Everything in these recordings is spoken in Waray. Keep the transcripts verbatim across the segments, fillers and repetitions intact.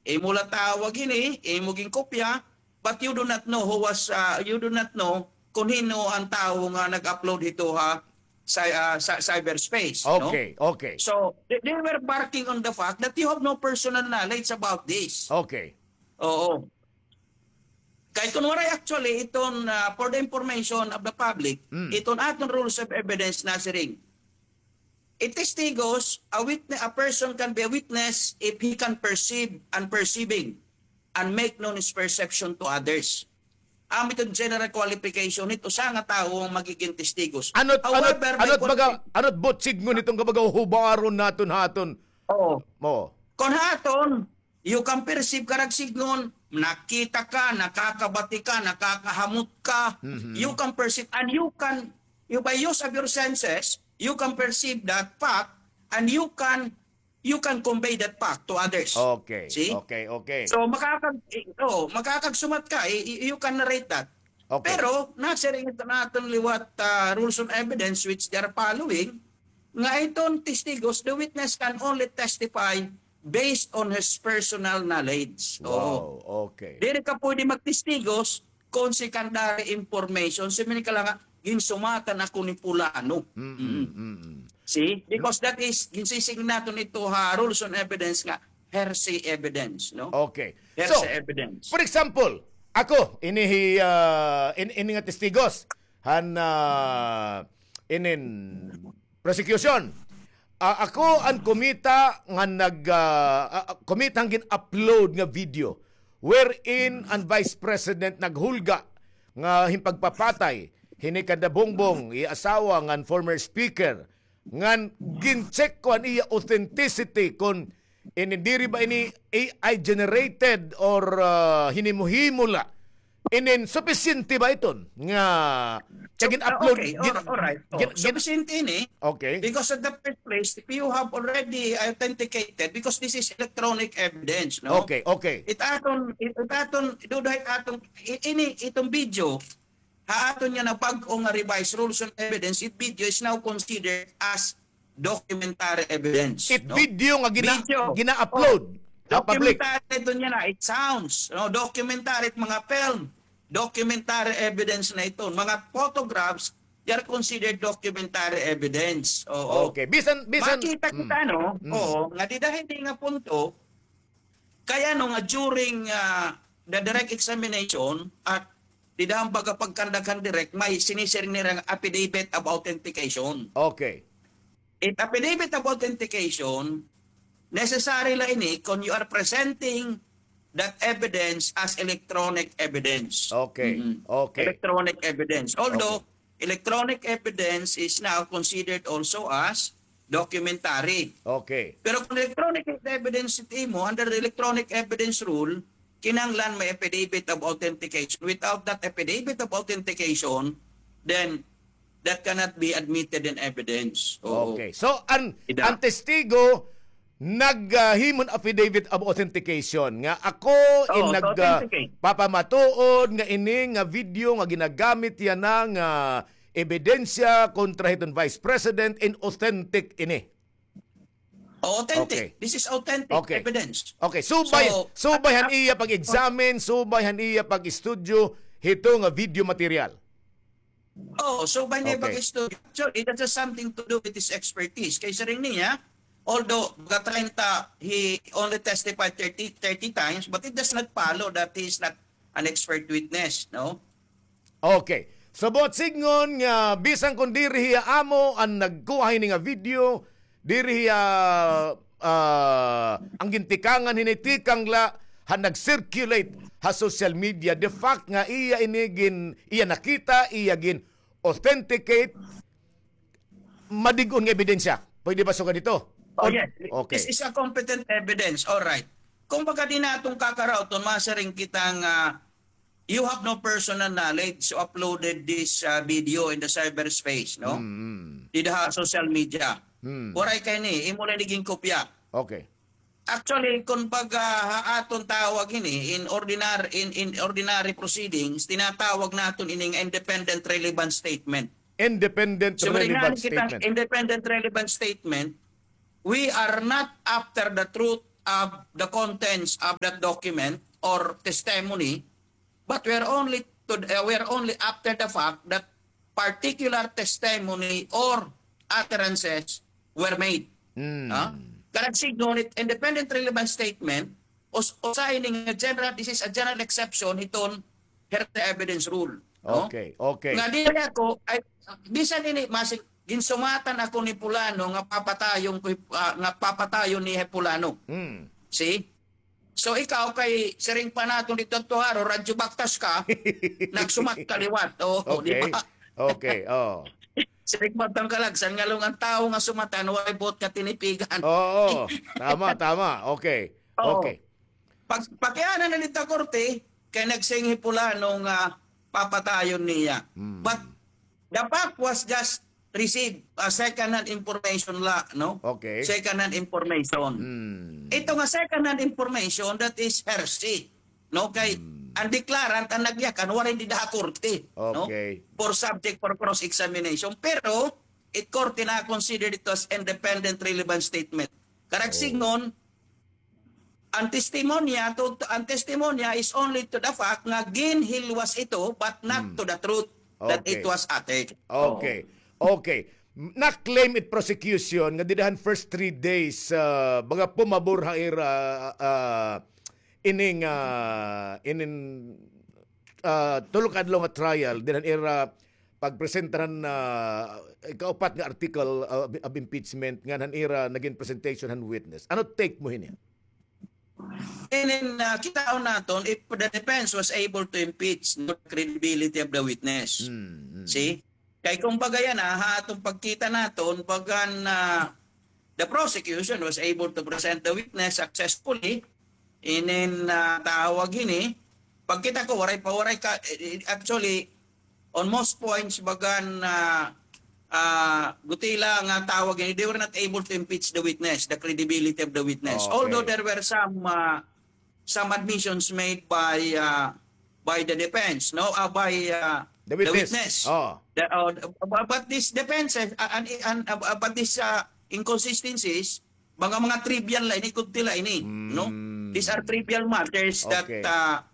Imo la tawag ini, imo ginkopya, but you do not know who was, ah, you do not know kon hin-o an tawo nga nag-upload hito ha cy-, ah, sa cyberspace, no? Okay, okay. So, they, they were barking on the fact that you have no personal knowledge about this. Okay. Oo. Kay kun waray actually iton, ah, for the information of the public, mm, iton aton rules of evidence nasiring, a testigos, a witne-, a person can be a witness if he can perceive and perceiving and make known his perception to others. Amo iton general qualification hit usa nga tawo nga magigin testigos. Ano't, ano't, however, may ano't baga, qualifi- ano't buot sidngon iton nga baga hubaron naton ha aton? Oo. Oo. Kon ha aton, you can perceive, karuyag sidngon, nakita ka, nakakabati ka, nakakahamot ka. Mhm. You can perceive, and you can, you, by use of your senses, you can perceive that fact, and you can, you can convey that fact to others. Okay. See? Okay, okay. So, makakag-, oh, makakagsumat ka, y-, y-, you can narrate that. Okay. Pero, nasiring ito naton liwat, ah, rules on evidence which they are following, nga iton testigos, the witness can only testify based on his personal knowledge. Wow, oo, okay. Diri ka pwede magtestigos kon secondary information. Siring ka la nga, ginsumatan ako ni Pulano. Mm-mm, mm-mm. See? Because that is, ginsisign naton ito ha rules on evidence nga hearsay evidence, no? Okay. Hearsay evidence. So, for example, ako, ini hi, ah, in-, ini nga testigos, han, ah, inin prosecution. Ah, ako an kumita nga nag, ah, ah, kumita an gin-upload nga video wherein an Vice President naghulga nga hin pagpapatay hini kanda Bongbong, iya asawa ngan former speaker, ngan gin-check ko an iya authenticity kon ini diri ba ini A I generated or, ah, hinimo-himo la. Inin, supisyente ba iton nga, nga gin-upload? Ah, okay, gin-, all right. Oh, gin-, gin-, supisyente ini. Okay. Because at the first place, if you have already authenticated, because this is electronic evidence, no? Okay, okay. It aton, it, it aton, duda it aton, i-, ini, iton video, ha aton nga nabag-o nga revised rules on evidence, it video is now considered as documentary evidence, no? It video nga gina-, gina-upload. Oh. Documentary ito niya na, it sounds, no? Documentary it mga film, documentary evidence na ito. Mga photographs, they are considered documentary evidence. Oo. Okay. Bisan, bisan, makita kita, no? Mm. Oo, nga dida hini nga punto, kay ano nga during, ah, the direct examination at dida han baga pagkandaghan direct, may sinisiring nira nga affidavit of authentication. Okay. It affidavit of authentication, necessary la ini kon you are presenting that evidence as electronic evidence. Okay. Mm-mm. Okay. Electronic evidence. Although, okay. Electronic evidence is now considered also as documentary. Okay. Pero kon electronic evidence it imo, under the electronic evidence rule, kinahanglan may affidavit of authentication. Without that affidavit of authentication, then that cannot be admitted in evidence. Oo. Okay. So, an, an testigo, nag, ah, himo hin affidavit of authentication nga ako in nag, ah, papamatuod nga ini nga video nga ginagamit yana nga ebidensya kontra hiton Vice President in authentic ini. Authentic. Okay. This is authentic evidence. Okay. Subay, so, subay han iya pag-examine, subay han iya pag-estudyo hito nga video material. Oh, so by niya pag-istorya, so it has something to do with his expertise. Kay siring niya, although baga treinta, he only testified thirty, thirty times, but it does not follow that he is not an expert witness, no? Okay. So, buot sidngon nga bisan kon diri hiya amo an nagkuha hini nga video, diri hiya, ah, an gintikangan hini tikang la han nag-circulate ha social media. The fact nga iya ini gin-, iya nakita, iya gin-authenticate, madig-on nga ebidensya. Pwede ba sugad hito? Oh, yes. Okay. This is a competent evidence. All right. Kumbaga, diri naton kakarawton, masiring kita nga you have no personal knowledge, so uploaded this, uh, video in the cyberspace, no? Mm, mm. Dida ha social media. Mm. Waray ka ini, imo la ini ginkopya. Okay. Actually, kon pag, ah, ha aton tawag ini, in ordinar-, in, in ordinary proceedings, tinatawag naton ini nga independent relevant statement. Independent relevant statement. So, independent relevant statement, we are not after the truth of the contents of that document or testimony, but we're only to, uh, we're only after the fact that particular testimony or utterances were made. Hmm. Ha? Karuyag sidngon it independent relevant statement, us-, usahay ini nga general, this is a general exception hiton hearsay evidence rule. No? Okay, okay. Nga diri ako, ay, bisan ini, masig, ginsumatan ako ni Pulano nga papatayon ko, ah, nga papatayon niya hi Pulano. Hmm. See? So, ikaw kay siring pa naton didto, Tuaro, radyo baktas ka, nagsumat ka liwat. Oo, di ba? Okay. Okay, oo. Siring pa tang kalagsan, ngalong an tawo nga sumatan, walay buot nga tinipigan. Oo, tama, tama. Okay. Oo. Okay. Pag, pakiana na didto ha korte, kay nagsiring hi Pulano nga papatayon niya. Hmm. But the fact was just received, ah, second-hand information la, no? Okay. Second-hand information. Hmm. Ito nga second-hand information, that is hearsay, no? Kay, hmm, an declarant, an nagyakan, waray dida ha korte, no? Okay. For subject for cross-examination. Pero, it korte na consider ito as independent relevant statement. Karuyag sidngon, an testimonya to, an testimonya is only to the fact nga ginhilwas ito, but not to the truth that it was uttered. Okay. Okay. Na-claim it prosecution nga dida han first three days, ah, baga pumabor ha ira, ah, ining, ah, inin, ah, tulo ka adlaw nga trial, dida han ira pagpresentar han, ah, ikaupat nga article, ah, of, of impeachment ngan han ira nagin presentation han witness. Ano take mo hini? And then, ah, kitaon naton if the defense was able to impeach the credibility of the witness. Mm, mm. See? Kay kumbaga yana, ha aton pagkita naton, bagan, ah, the prosecution was able to present the witness successfully. Inin, ah, tawag hini, pagkita ko, waray pa, waray ka, eh, eh, actually, on most points, bagan, ah, ah, gutila nga tawag hini, they were not able to impeach the witness, the credibility of the witness. Okay. Although there were some, ah, some admissions made by, ah, by the defense, no? Ah, by, ah, the witness. The witness. Oh. The, oh, bu-, but this defense, eh, ah, an, an, ah, but this, ah, inconsistencies, mga, mga trivial la ini, kunti la ini, no? Mm. These are trivial matters that, okay, ah,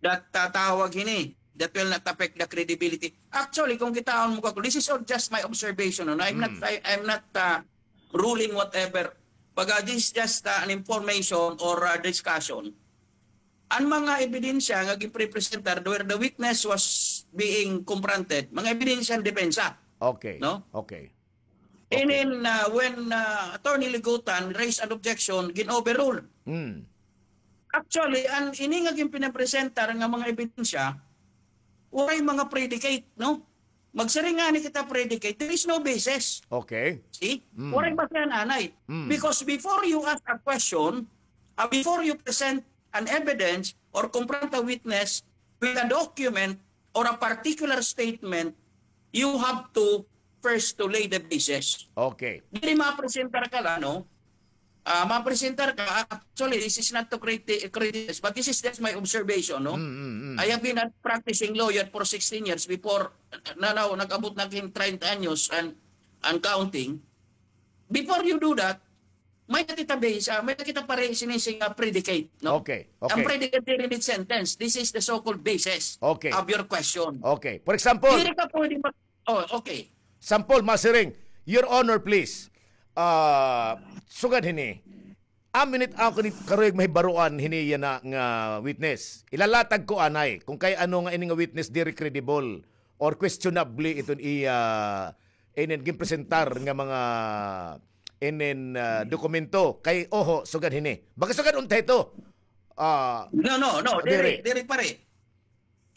that, ah, tawag hini, that will not affect the credibility. Actually, kung kitaon mo ka, this is all just my observation, no? I'm not, mm, I, I'm not, ah, ruling whatever. Baga, this is just, ah, an information or, ah, discussion. An mga ebidensya nga ginprepresentar where the witness was being confronted, mga ebidensya han depensa. Okay. No? Okay. Okay. And then, uh, when, uh, Attorney Ligutan raised an objection, gin-overrule. Mm. Actually, an ini nga ginpinapresentar nga mga ebidensya, waray mga predicate, no? Magsiring ngani kita predicate, there is no basis. Okay. See? Mm. Waray basihan anay. Mm. Because before you ask a question, uh, before you present an evidence or confront a witness with a document or a particular statement, you have to first to lay the basis. Okay. Diri mapresentar ka la, no? Ah, mapresentar ka, actually, this is not to criti-, criticize, but this is just my observation, no? Mm, mm, mm. I have been a practicing lawyer for sixteen years before, na, na, nag-abot na hin treinta anyos and, and counting. Before you do that, may-ada kita base, ah, may-ada kita pare-, sinising nga predicate, no? Okay, okay. An predicate diri need sentence. This is the so-called basis, okay, of your question. Okay. For example, diri ka pwede mag-, oh, okay. Sample, masiring, Your Honor, please. Ah, sugad hini, amin it ako ni karuyag mahibaroan hini yana nga witness. Ilalatag ko anay kung kay ano nga ini nga witness diri credible or questionable iton iya inin ginpresentar nga mga inin, ah, dokumento. Kay oho, sugad hini. Baga sugad unta ito. Ah, no, no, no. Diri, diri, pare.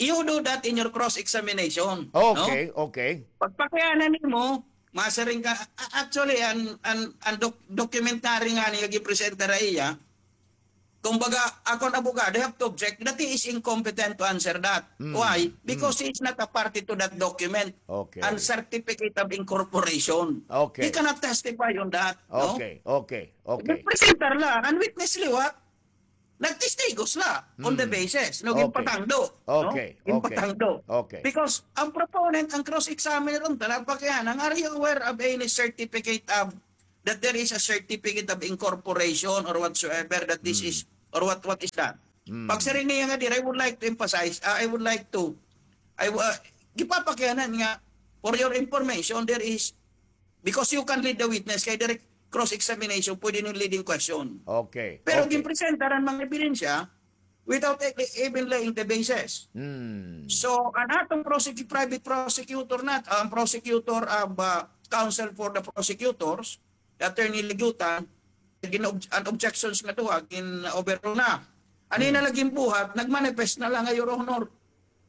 You do that in your cross-examination, no? Okay, okay. Pagpakiana nimo, masiring ka, a-, actually, an, an, an doc-, documentary ngani nga gipresenta ha iya, kumbaga, ako an abogado, I have to object that he is incompetent to answer that. Mm, why? Mm. Because he is not a party to that document. Okay. An certificate of incorporation. Okay. He cannot testify on that, no? Okay, okay, okay. Gipresenta la, an witness liwat. Nagtestigos la on the basis, no, ginpatangdo, no? Okay, okay. Ginpatangdo. Okay. Because an proponent, an cross-examiner, unta la pakiana, are you aware of any certificate of, that there is a certificate of incorporation or whatsoever that this is, or what, what is that? Pagsiring niya nga diri, I would like to emphasize, uh, I would like to, I, uh, gipapakianan nga, for your information, there is, because you can lead the witness, kay direct cross-examination, pwede ning leading question. Okay. Pero Okay. ginpresenta an mga ebidensya without e- even laying the basis. Hmm. So, an atong prosec- private prosecutor na, ang prosecutor, uh, ba, counsel for the prosecutors, Attorney Ligutan, gin-ob- an objections nga duha, gin-overrule na. Ano na lagi buhat, nagmanifest na lang nga, Your Honor.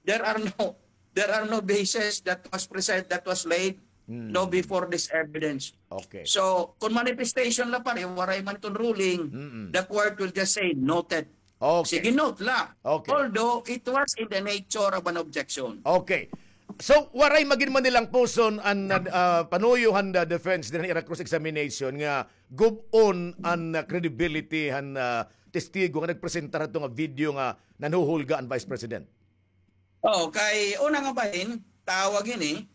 There are no, there are no basis that was present, that was laid, no, before this evidence. Okay. So, kung manifestation la pa rin, waray man itong ruling, Mm-mm. the court will just say, noted. Okay. Sige, note la. Okay. Although, it was in the nature of an objection. Okay. So, waray magin man nilang puson an, ah, panuyo han the defense dinhi han ira cross-examination nga gub-on an, ah, credibility han, ah, testigo nga nagpresentar hadto nga video nga nanhuhulga an Vice President. Oh, kay una nga bahin, tawag ini,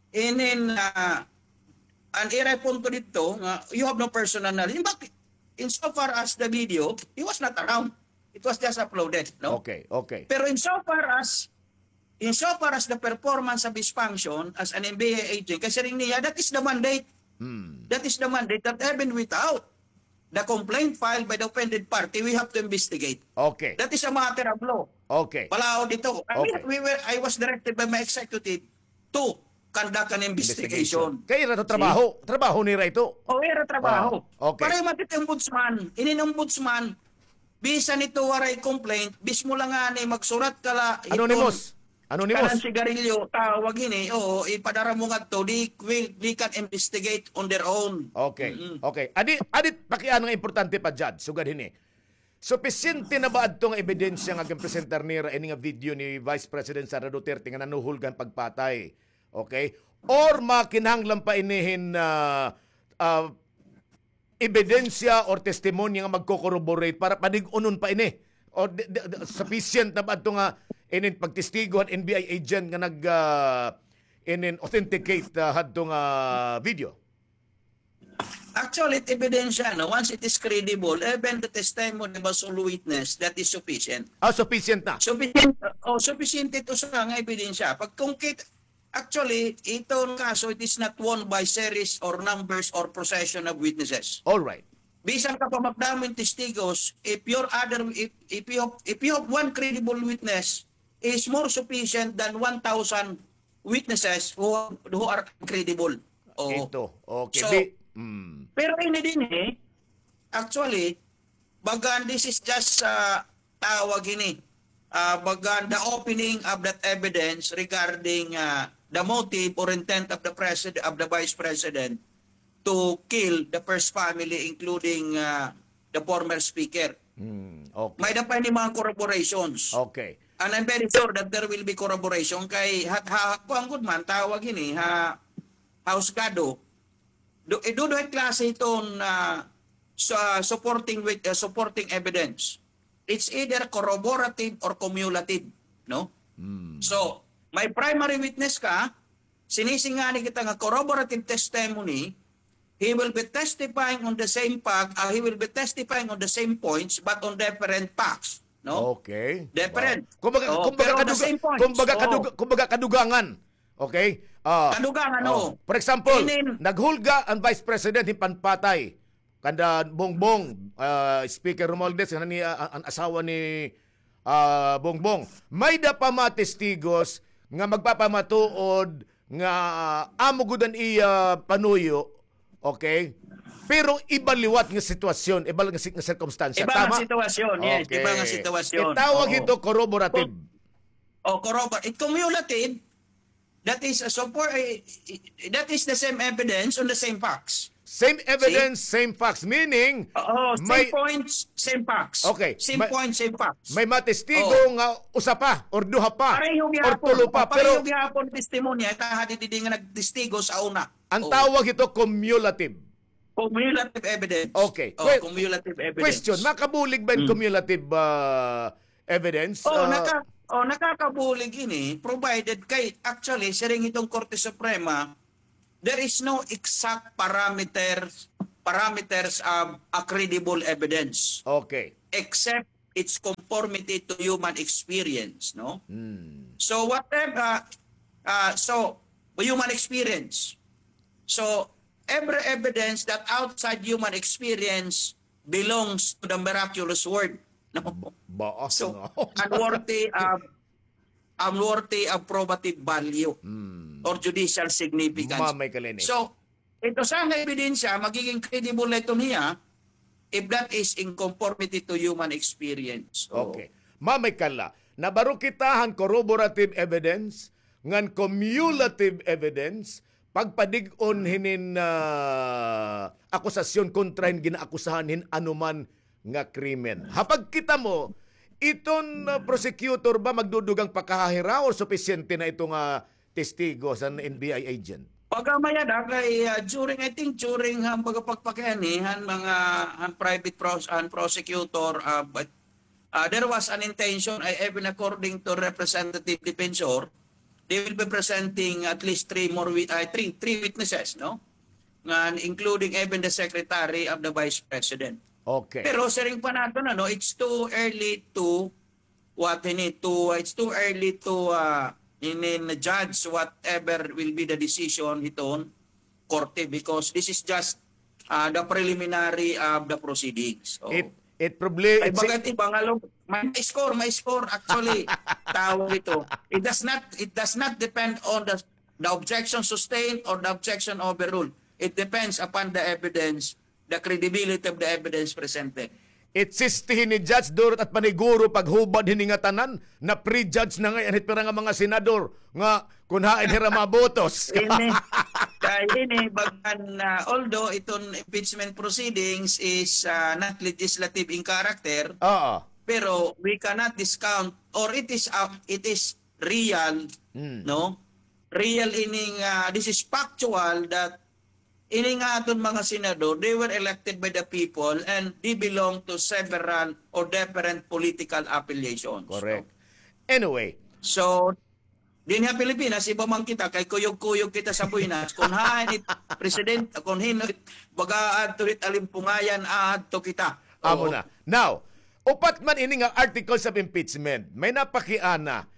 inin, ah, an ira punto didto nga you have no personal knowledge. In fact, insofar as the video, he was not around. It was just uploaded, no? Okay, okay. Pero insofar as, insofar as the performance of his function as an N B I agent, kay siring niya, that is the mandate. Hmm. That is the mandate that even without the complaint filed by the offended party, we have to investigate. Okay. That is a matter of law. Okay. Palaod ito. I mean, Okay. we were, I was directed by my executive to conduct an investigation. Kay ira to trabaho. Trabaho nira ito. O, ira trabaho. Ah, okay. Pareho man it ombudsman. Inin ombudsman, bisan ito waray complaint, mismo lang nga ni magsurat ka la, Anonymous. Kanan Anonymous. sigarilyo, tawag ini, oo, ipadara mo ngadto, they will, they can investigate on their own. Okay. Mm-mm. Okay. Adi, adi, pakiana nga importante pa, Judge, sugad hini. Supisyente na ba adto nga ebidensya nga ginpresentar nira ini nga video ni Vice President Sara Duterte nga nanuhulgan pagpatay? Okay? Or makinahanglan pa ini hin, ah, ah, ebidensya or testimonya nga magko-corroborate para panig-unon pa ini? Or di, di, di, sufficient na ba adto nga inin pagtestigo han N B I agent nga nag, ah, inin authenticate, ah, hadto nga video? Actually, it ebidensya, no? Once it is credible, even the testimony of a sole witness, that is sufficient. Ah, sufficient na. Sufficient, oh, sufficient ito sa nga ebidensya. Pag kung kit-, actually, itong kaso, it is not won by series or numbers or procession of witnesses. All right. Bisan ka pa magdamo hin testigos, if your other, if, if you have, if you have one credible witness, is more sufficient than one thousand witnesses who, who are incredible. Oo. Ito. Okay. So, Di, mm. Pero ini dinhi, actually, bagan, this is just, ah, tawag ini, ah, bagan, the opening of that evidence regarding, ah, the motive or intent of the president, of the vice president to kill the first family, including, ah, the former speaker. Mm, okay. May-ada pa ini mga corroborations. Okay. And I'm very sure that there will be corroboration kay ha, ha, kuan gud man, tawag ini, ha, husgado. Do, eh, duduha klase iton, ah, sa supporting with, ah, supporting evidence. It's either corroborative or cumulative, no? Mm. So, may primary witness ka, sinisingani kita nga corroborative testimony, he will be testifying on the same fact, ah, he will be testifying on the same points but on different facts, no? Okay. Different. Wow. Kumbaga, Oh, kumbaga, pero on the kaduga-, same points. kumbaga, Oh. kaduga-, kumbaga kadugangan. Okay? Ah, Kadugangan, oh. Oh. For example, Inin- naghulga an Vice President hin panpatay kanda Bongbong, ah, Speaker Romualdez, nga ni, ah, an asawa ni, ah, Bongbong. May-ada pa mga testigos nga magpapamatuod nga, ah, amo gud an iya panuyo, okay? Pero iba liwat nga sitwasyon, iba nga si-, nga sirkumstansya. Iba nga Tama? Sitwasyon, yes. Okay. Iba nga sitwasyon. Itawag Oo. Ito corroborative. O, corrobor-, it cumulative, that is a support, eh, that is the same evidence on the same facts. Same evidence, same facts. Meaning, Oo, same may, points, same facts. Okay, Same may, points, same facts. may mga testigo Oo. nga usa pa, or duha pa, Pareho or gihapon. tulo pa, Pareho pero gihapon testimonya, itaha didi nga nagtestigo sa una. ang Oo. Tawag ito cumulative. Cumulative evidence. Okay. Oh, Que- cumulative evidence. Question, makabulig ba yung Mm. cumulative ah, evidence? Oh, Ah, naka, oh, nakakabulig ini, provided kay, actually, siring itong Korte Suprema, there is no exact parameter parameters of a credible evidence. Okay. Except its conformity to human experience, no? Hmm. So whatever, uh, so human experience. So every evidence that outside human experience belongs to the miraculous word. No? Ba-, baas. So, no? Unworthy of, unworthy of probative value, hmm, or judicial significance. Mamay ka, Lenny. So, ito sana ebidensya, magiging credible na ito niya if that is in conformity to human experience. So, okay. Mamay ka la, nabaro kita han corroborative evidence, ngan cumulative evidence, pagpadig-on hinin, ah, akusasyon kontra hin ginaakusahan hin anuman nga krimen. Ha pagkita mo, iton, ah, prosecutor ba magdudugang pakahahira or supisyente na ito nga testigo san N B I agent? Pagkamay-ada kay, ah, during, I think, during, ah, pagpakpakianhi han mga, han private pros-, han prosecutor, ah, but, ah, there was an intention, I, even according to Representative Defensor, they will be presenting at least three more wit-, ah, three, three witnesses, no? Ngan including even the secretary of the vice president. Okay. Pero siring pa naton, ano, it's too early to what, hini, to, it's too early to, uh, hinin judge whatever will be the decision hiton korte because this is just, uh, the preliminary of the proceedings. So, it, it probably, ay, it's bagat iba nga lo-, may, may score, may score actually. Tawag ito. It does not, it does not depend on the, the objection sustained or the objection overruled. It depends upon the evidence, the credibility of the evidence presented. It sistihi ni Judge Durot at paniguro paghubad hini ngatanan, na-prejudge na ngay-an hit pira nga mga senador nga kun hain hira mabotos. Ini, kay ini, bagan, ah, although iton impeachment proceedings is, ah, not legislative in character, oo, pero we cannot discount or it is, ah, it is real, hmm, no? Real ining, ah, this is factual that ini nga aton mga senador, they were elected by the people and they belong to several or different political affiliations. Correct. No? Anyway. So, dinhi ha Pilipinas, iba man kita, kay kuyog-kuyog kita sa buhinas. Kun hain it president, kun hin-o it, baga adto it alimpungayan, adto kita. Amo na. Now, upat man ini nga articles of impeachment. May napakiana.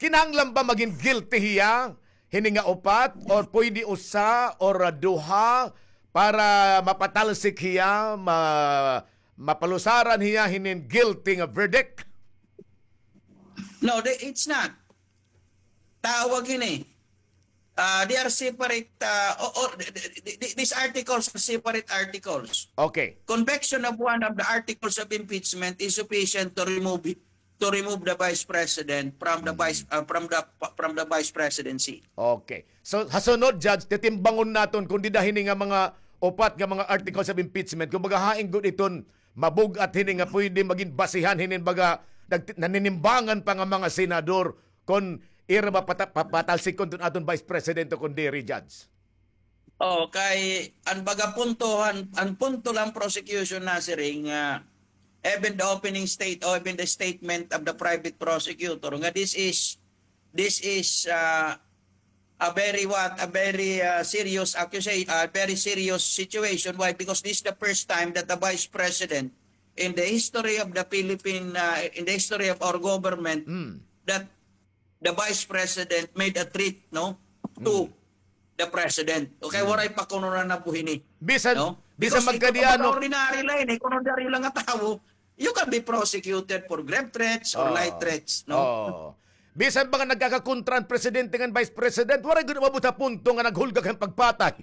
Kinahanglan ba magin guilty hiya hini nga upat or pwede usa or, ah, duha para mapatalsik hiya, ma-, mapalusaran hiya hinin guilty nga verdict? No, the, it's not. Tawag ini. Ah, they are separate, ah, o-, o-, th-, th-, th-, th-, these articles are separate articles. Okay. Conviction of one of the articles of impeachment is sufficient to remove it, to remove the vice president from the vice, ah, from the, from the vice presidency. Okay. So, ha sunod, Judge, titimbangon naton kun dida hini nga mga upat nga mga articles of impeachment, kumbaga hain gud iton mabug-at hini nga pwede magin basihan hinin baga nag-, naninimbangan pa nga mga senador kon ira mapata-, papatalsikon iton aton Vice President o kon diri, Judge? Oh, kay an baga punto, an, an punto la han prosecution nasiring nga even the opening state or even the statement of the private prosecutor nga this is, this is, ah, a very what, a very, ah, serious accusa-, a very serious situation. Why? Because this is the first time that the vice president in the history of the Philippine, ah, in the history of our government, that the vice president made a threat, no, to the president. Okay, waray pa kuno nanabo hini. Bisan, no? Because bisan magkadiano, ordinary la ini, kuno ordinaryo la nga tawo, you can be prosecuted for grave threats or light threats, no? Oh. Bisan pa nga nagkakakontra an presidente ngan vice president, waray gud umabot ha punto nga naghulga han pagpatay.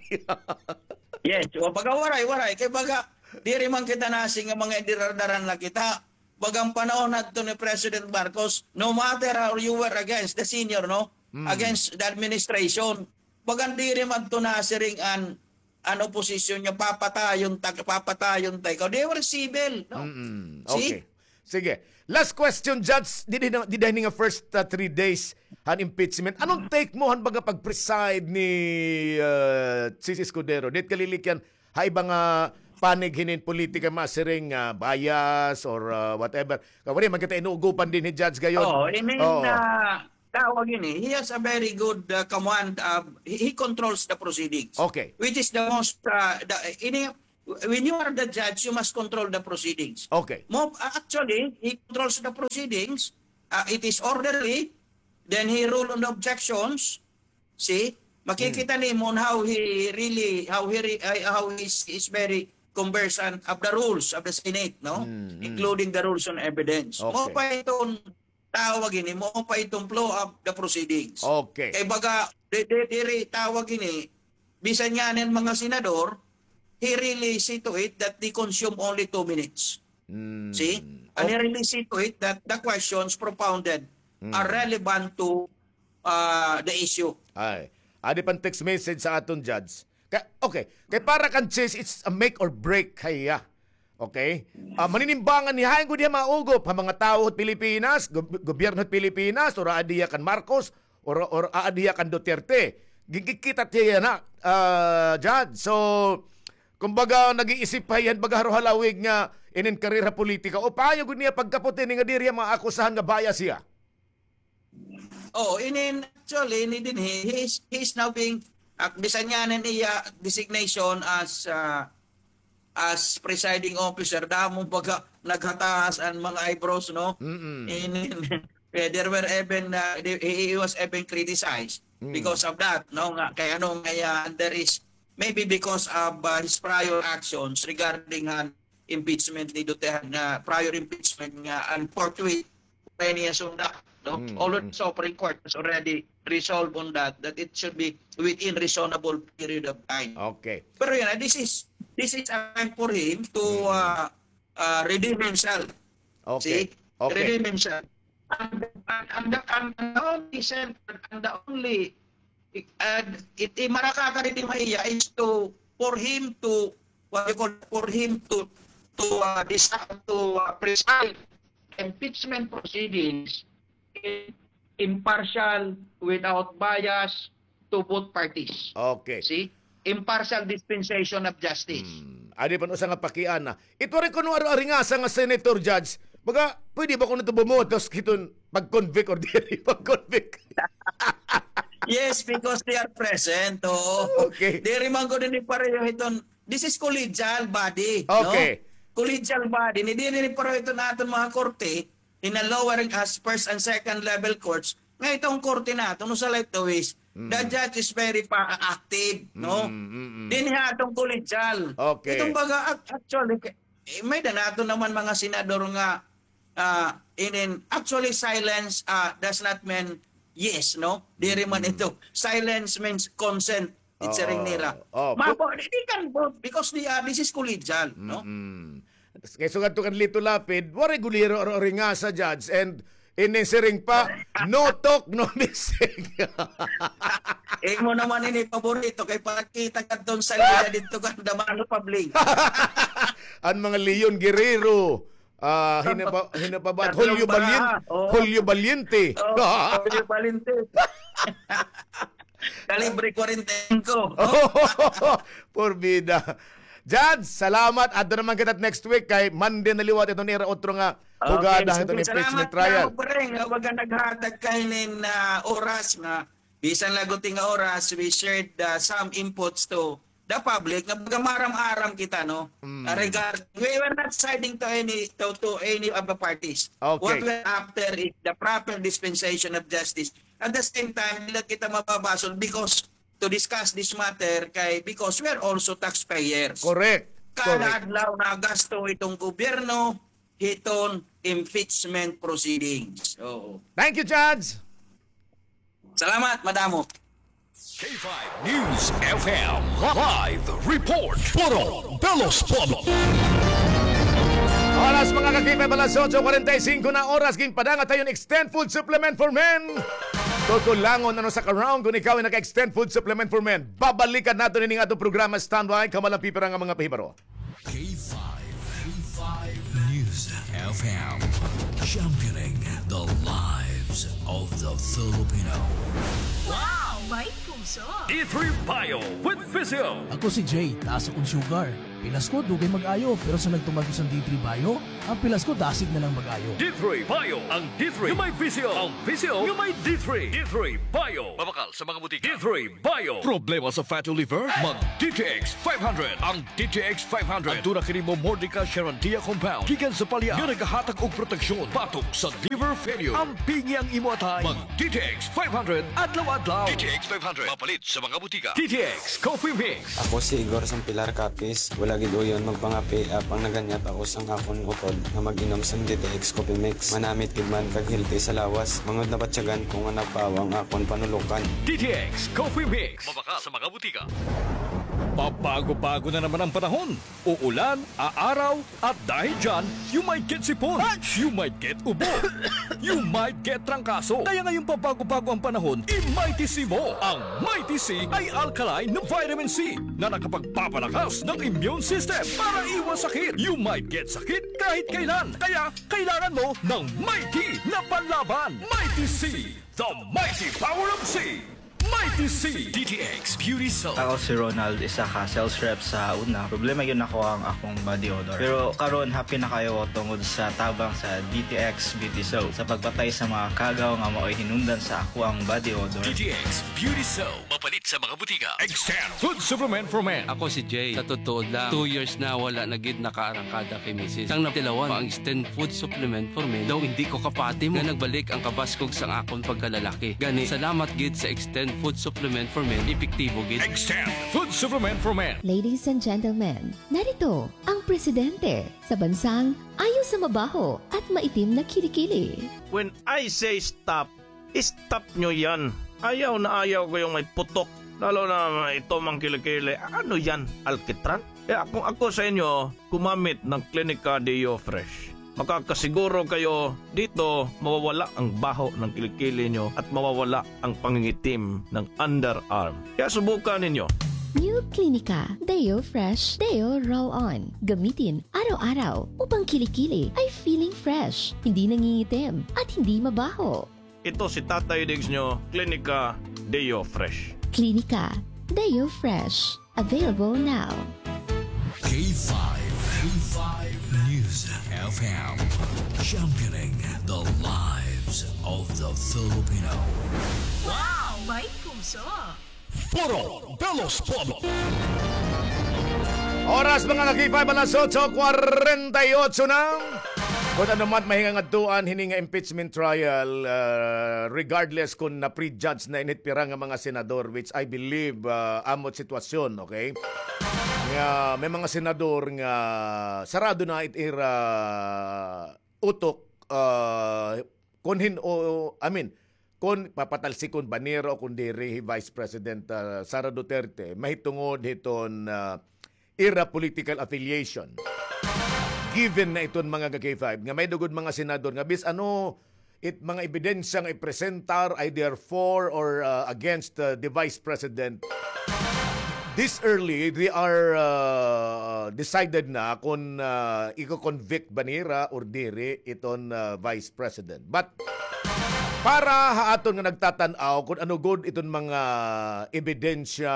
Yes, o baga waray, waray. Kay baga, diri man kita nasiring nga mga indirardaran la kita. Baga an panahon hadto ni President Marcos, no matter how you were against the senior, no? Against the administration. Baga diri man to nasiring an, an oposisyon nga papatayon ta, papatayon ta ikaw. They were civil, no? See? Okay. Sige. Last question, Judge. Dida hini nga first, uh, three days han impeachment. Ano an take mo han baga pag-preside ni, uh, Chiz Escudero? Diri kalilikyan ha iba nga panig hinin politika, masiring, ah, bias or, ah, whatever. Kay waray man kita inuugopan dinhi, Judge, gayod. Oo, I mean, ah, tawag ini, he has a very good, ah, command. Ah, he, he controls the proceedings. Okay. Which is the most, ah, the, ini, when you are the judge, you must control the proceedings. Okay. Mo, actually, he controls the proceedings. Uh, it is orderly. Then he rule on the objections. See? Makikita nimo on how he really, how he re-, ay, how he is, is very conversant of the rules of the Senate, no? Including the rules on evidence. Okay. Mao pa iton tawag ini, mao pa iton flow of the proceedings. Okay. Kay baga, di, di, diri tawag ini, bisan yana an mga senador, he really see to it that they consume only two minutes. See? And he really see to it that the questions propounded are relevant to, ah, the issue. Ay. Adi pa an text message sa aton judge. Ka-, okay. Kay para kan Chis, it's a make or break ha iya. Okay? Ah, maninimbangan niya, hain gud hiya maugop ha mga tawo hit Pilipinas, gob-, gobyerno hit Pilipinas, or aadi hiya kan Marcos, or, or aadi hiya kan Duterte. Gigikita hiya na, ah, Judge. So, kumbaga, nag-iisip pa hiya, baga haro halawig nga inin karera politika. O pahayo gud niya pagkapot ini nga diri hiya maakusahan nga bias hiya? Oh, inin, actually, ini dinhi, he is, he is now being, ah, bisan yana an iya designation as, ah, as presiding officer, damo baga naghataas an mga eyebrows, no? Inin, eh, there were even, ah, he, he was even criticized because of that, no? Nga, kay ano, nga, ah, there is, maybe because of, ah, his prior actions regarding an impeachment ni Duterte, nga prior impeachment nga, and forthwith, niya sunda, no? Although the Supreme Court has already resolved on that, that it should be within reasonable period of time. Okay. Pero yun, ah, this is, this is a time for him to, ah, ah, redeem himself. Okay. See? Okay. Redeem himself. And, and, and the, and the only sen-, and the only, uh, it, it, marakaka didi ha iya is to, for him to, what you call, for him to, to, uh, disa-, to, uh, preside impeachment proceedings in impartial, without bias, to both parties. Okay. See? Impartial dispensation of justice. Hmm. Adi pa an usa nga pakiana. It waray kuno aro-aringasa nga senator, Judge. Baga, pwede ba kuno ito bumotos hiton pag-convict or diri pag-convict? Yes, because they are present. Oo. Okay. Diri man gud ini pareho hiton, this is collegial body, no? Okay. Collegial body. Ni diri ni pareho hiton aton mga korte, in a lower, as first and second level courts, nga iton korte naton, usa la ito is, the judge is very pa-, active, no? Dinhi aton collegial. Okay. Iton baga, ac-, actually, eh, may-ada naton naman mga senador nga, ah, inin, actually, silence, ah, does not mean yes, no? Diri man ito. Silence means consent. It siring nira. Oh, oh. Mapo, they can vote because they are, this is collegial, no? Mm-mm. Kay sugad to kan Lito Lapid, waray gud aro-aringasa, Judge, and ini siring pa, no talk, no missing. Imo naman ini paborito kay pakita kadton salida didto kan Damano Public. An mga Leon Guerrero, ah, hino pa, hino pa ba? Julio Valiente. Oo. Julio Valiente. Oo, Julio Valiente. Kalibre kwarenta y singko. Porbida. Judge, salamat. Adto naman kita next week kay Monday na liwat iton ira otro nga hugada hiton impeachment trial. Okay, sige, salamat nga, Breng, nga baga naghatag ka hinin, ah, oras nga bisan la gutiay nga oras, we shared, ah, some inputs to the public nga baga maaram-aram kita, no? Mm. Ah, regard, we were not siding to any, to, to any of the parties. Okay. What we're after is the proper dispensation of justice. At the same time, diri kita mababasol because to discuss this matter kay, because we are also taxpayers. Correct. Correct. Kada adlaw nagasto iton gobyerno hiton impeachment proceedings. Oo. Thank you, Judge. Salamat, madamo. K five News F M live report. Puro Belos Pueblo. Oras, mga ka-K five, alas otso kwarenta y singko na oras. Ginpadangat ha iyo an Extend Food Supplement for Men. Kukulangon an usa ka round kon ikaw ay naka-Extend Food Supplement for Men. Babalikan naton ini nga aton programa. Standby, kamo la an pipira nga mga pahibaro. K five, K five News F M, championing the lives of the Filipino. Wow! May puso! D three Bio with Physio. Ako si Jay, taas akong sugar. Pilas ko, dugay mag-ayo, pero sa nagtuman ko sa D three Bio, ang pilas ko, dasig na lang mag-ayo. D three Bio, ang D three nga may visyo, ang visyo nga may D three. D three Bio. Mabakal sa mga butika. D three Bio. Problema sa fatty liver? Mag D T X five hundred. Ang D T X five hundred. Aduna kini Momordica charantia compound gikan sa palya nga nagahatag og proteksyon batok sa liver failure. Ampingi ang imo atay. Mag D T X five hundred adlaw-adlaw. D T X five hundred. Mapalit sa mga butika. D T X Coffee Mix. Ako si Igor Sampilar Capiz. Wala gid uyon magpangapi, apang naganyat ako sang akon utod nga mag-inom sang D T X Coffee Mix. Manamit gid man kag healthy sa lawas. Mangud nabatyagan ko nga napawa ang akon panulokan. D T X Coffee Mix. Mabakal sa mga butika. Pabago-bago na naman ang panahon. Uulan, aaraw, at dahil dyan, you might get sipon, you might get ubo, you might get trangkaso. Kaya ngayong pabago-bago ang panahon, i-Mighty C mo. Ang Mighty C ay alkaline na vitamin C na nakapagpapalakas ng immune system para iwas sakit. You might get sakit kahit kailan. Kaya kailangan mo ng Mighty na panlaban. Mighty C, the mighty power of C. Mighty C. D T X Beauty Soap. Ako si Ronald, isa ka sales rep sa una. Problema gyud nako ang akong body odor. Pero karon, happy na kaayo ko tungod sa tabang sa D T X Beauty Soap sa pagpatay sa mga kagaw nga maoy hinungdan sa akoang body odor. D T X Beauty Soap. Mapalit sa mga butika. Extend Food Supplement for Men. Ako si Jay. Sa tutuod lang, two years na wala na gid nakaarangkada kay misis. Sang natilawan pa ang Extend Food Supplement for Men, daw indi ko kapati mo nga nagbalik ang kabaskog sang akon pagkalalaki. Gani, salamat gid sa Extend Food Supplement for Men, epektibo gid. Extend Food Supplement for Men. Ladies and gentlemen, narito ang presidente sa bansang ayaw sa mabaho at maitim na kilikili. When I say stop, stop nyo yan. Ayaw na ayaw ko yung may putok. Lalo na ito mang kilikili. Ano yan? Alkitran? Kaya kung ako sa inyo, gumamit ng Clinica Deo Fresh. Makakasiguro kayo dito, mawawala ang baho ng kilikili nyo at mawawala ang pangingitim ng underarm. Kaya subukan ninyo. New Clinica Deo Fresh Deo Roll-On. Gamitin araw-araw upang kilikili ay feeling fresh, hindi nangingitim, at hindi mabaho. Ito si Tatay Diggs nyo, Clinica Deo Fresh. Clinica Deo Fresh. Available now. K five, K five News F M, championing the lives of the Filipino. Wow! May puso! Foro de los Pueblos. Oras, mga ka-K five, alas otso kwarenta y otso na. Kon ano man mahinga ngadtoan hini nga impeachment trial, ah, regardless kon na-prejudge na ini it pira nga mga senador, which I believe, ah, amo it sitwasyon, okay? Nga may mga senador nga sarado na it ira utok, ah, kon hin-, o, I mean, kon papatalsikon ba nira o kon diri hi Vice President, ah, Sara Duterte, mahitungod hiton, ah, ira political affiliation. Given na iton mga ka-K five, nga may-ada gud mga senador nga bisan ano it mga ebidensya nga ipresentar, either for or, ah, against, ah, the Vice President, this early, they are, ah, decided na kon, ah, iko-convict ba nira or diri iton, ah, Vice President. But para ha aton nga nagtatan-aw kon ano gud iton mga ebidensya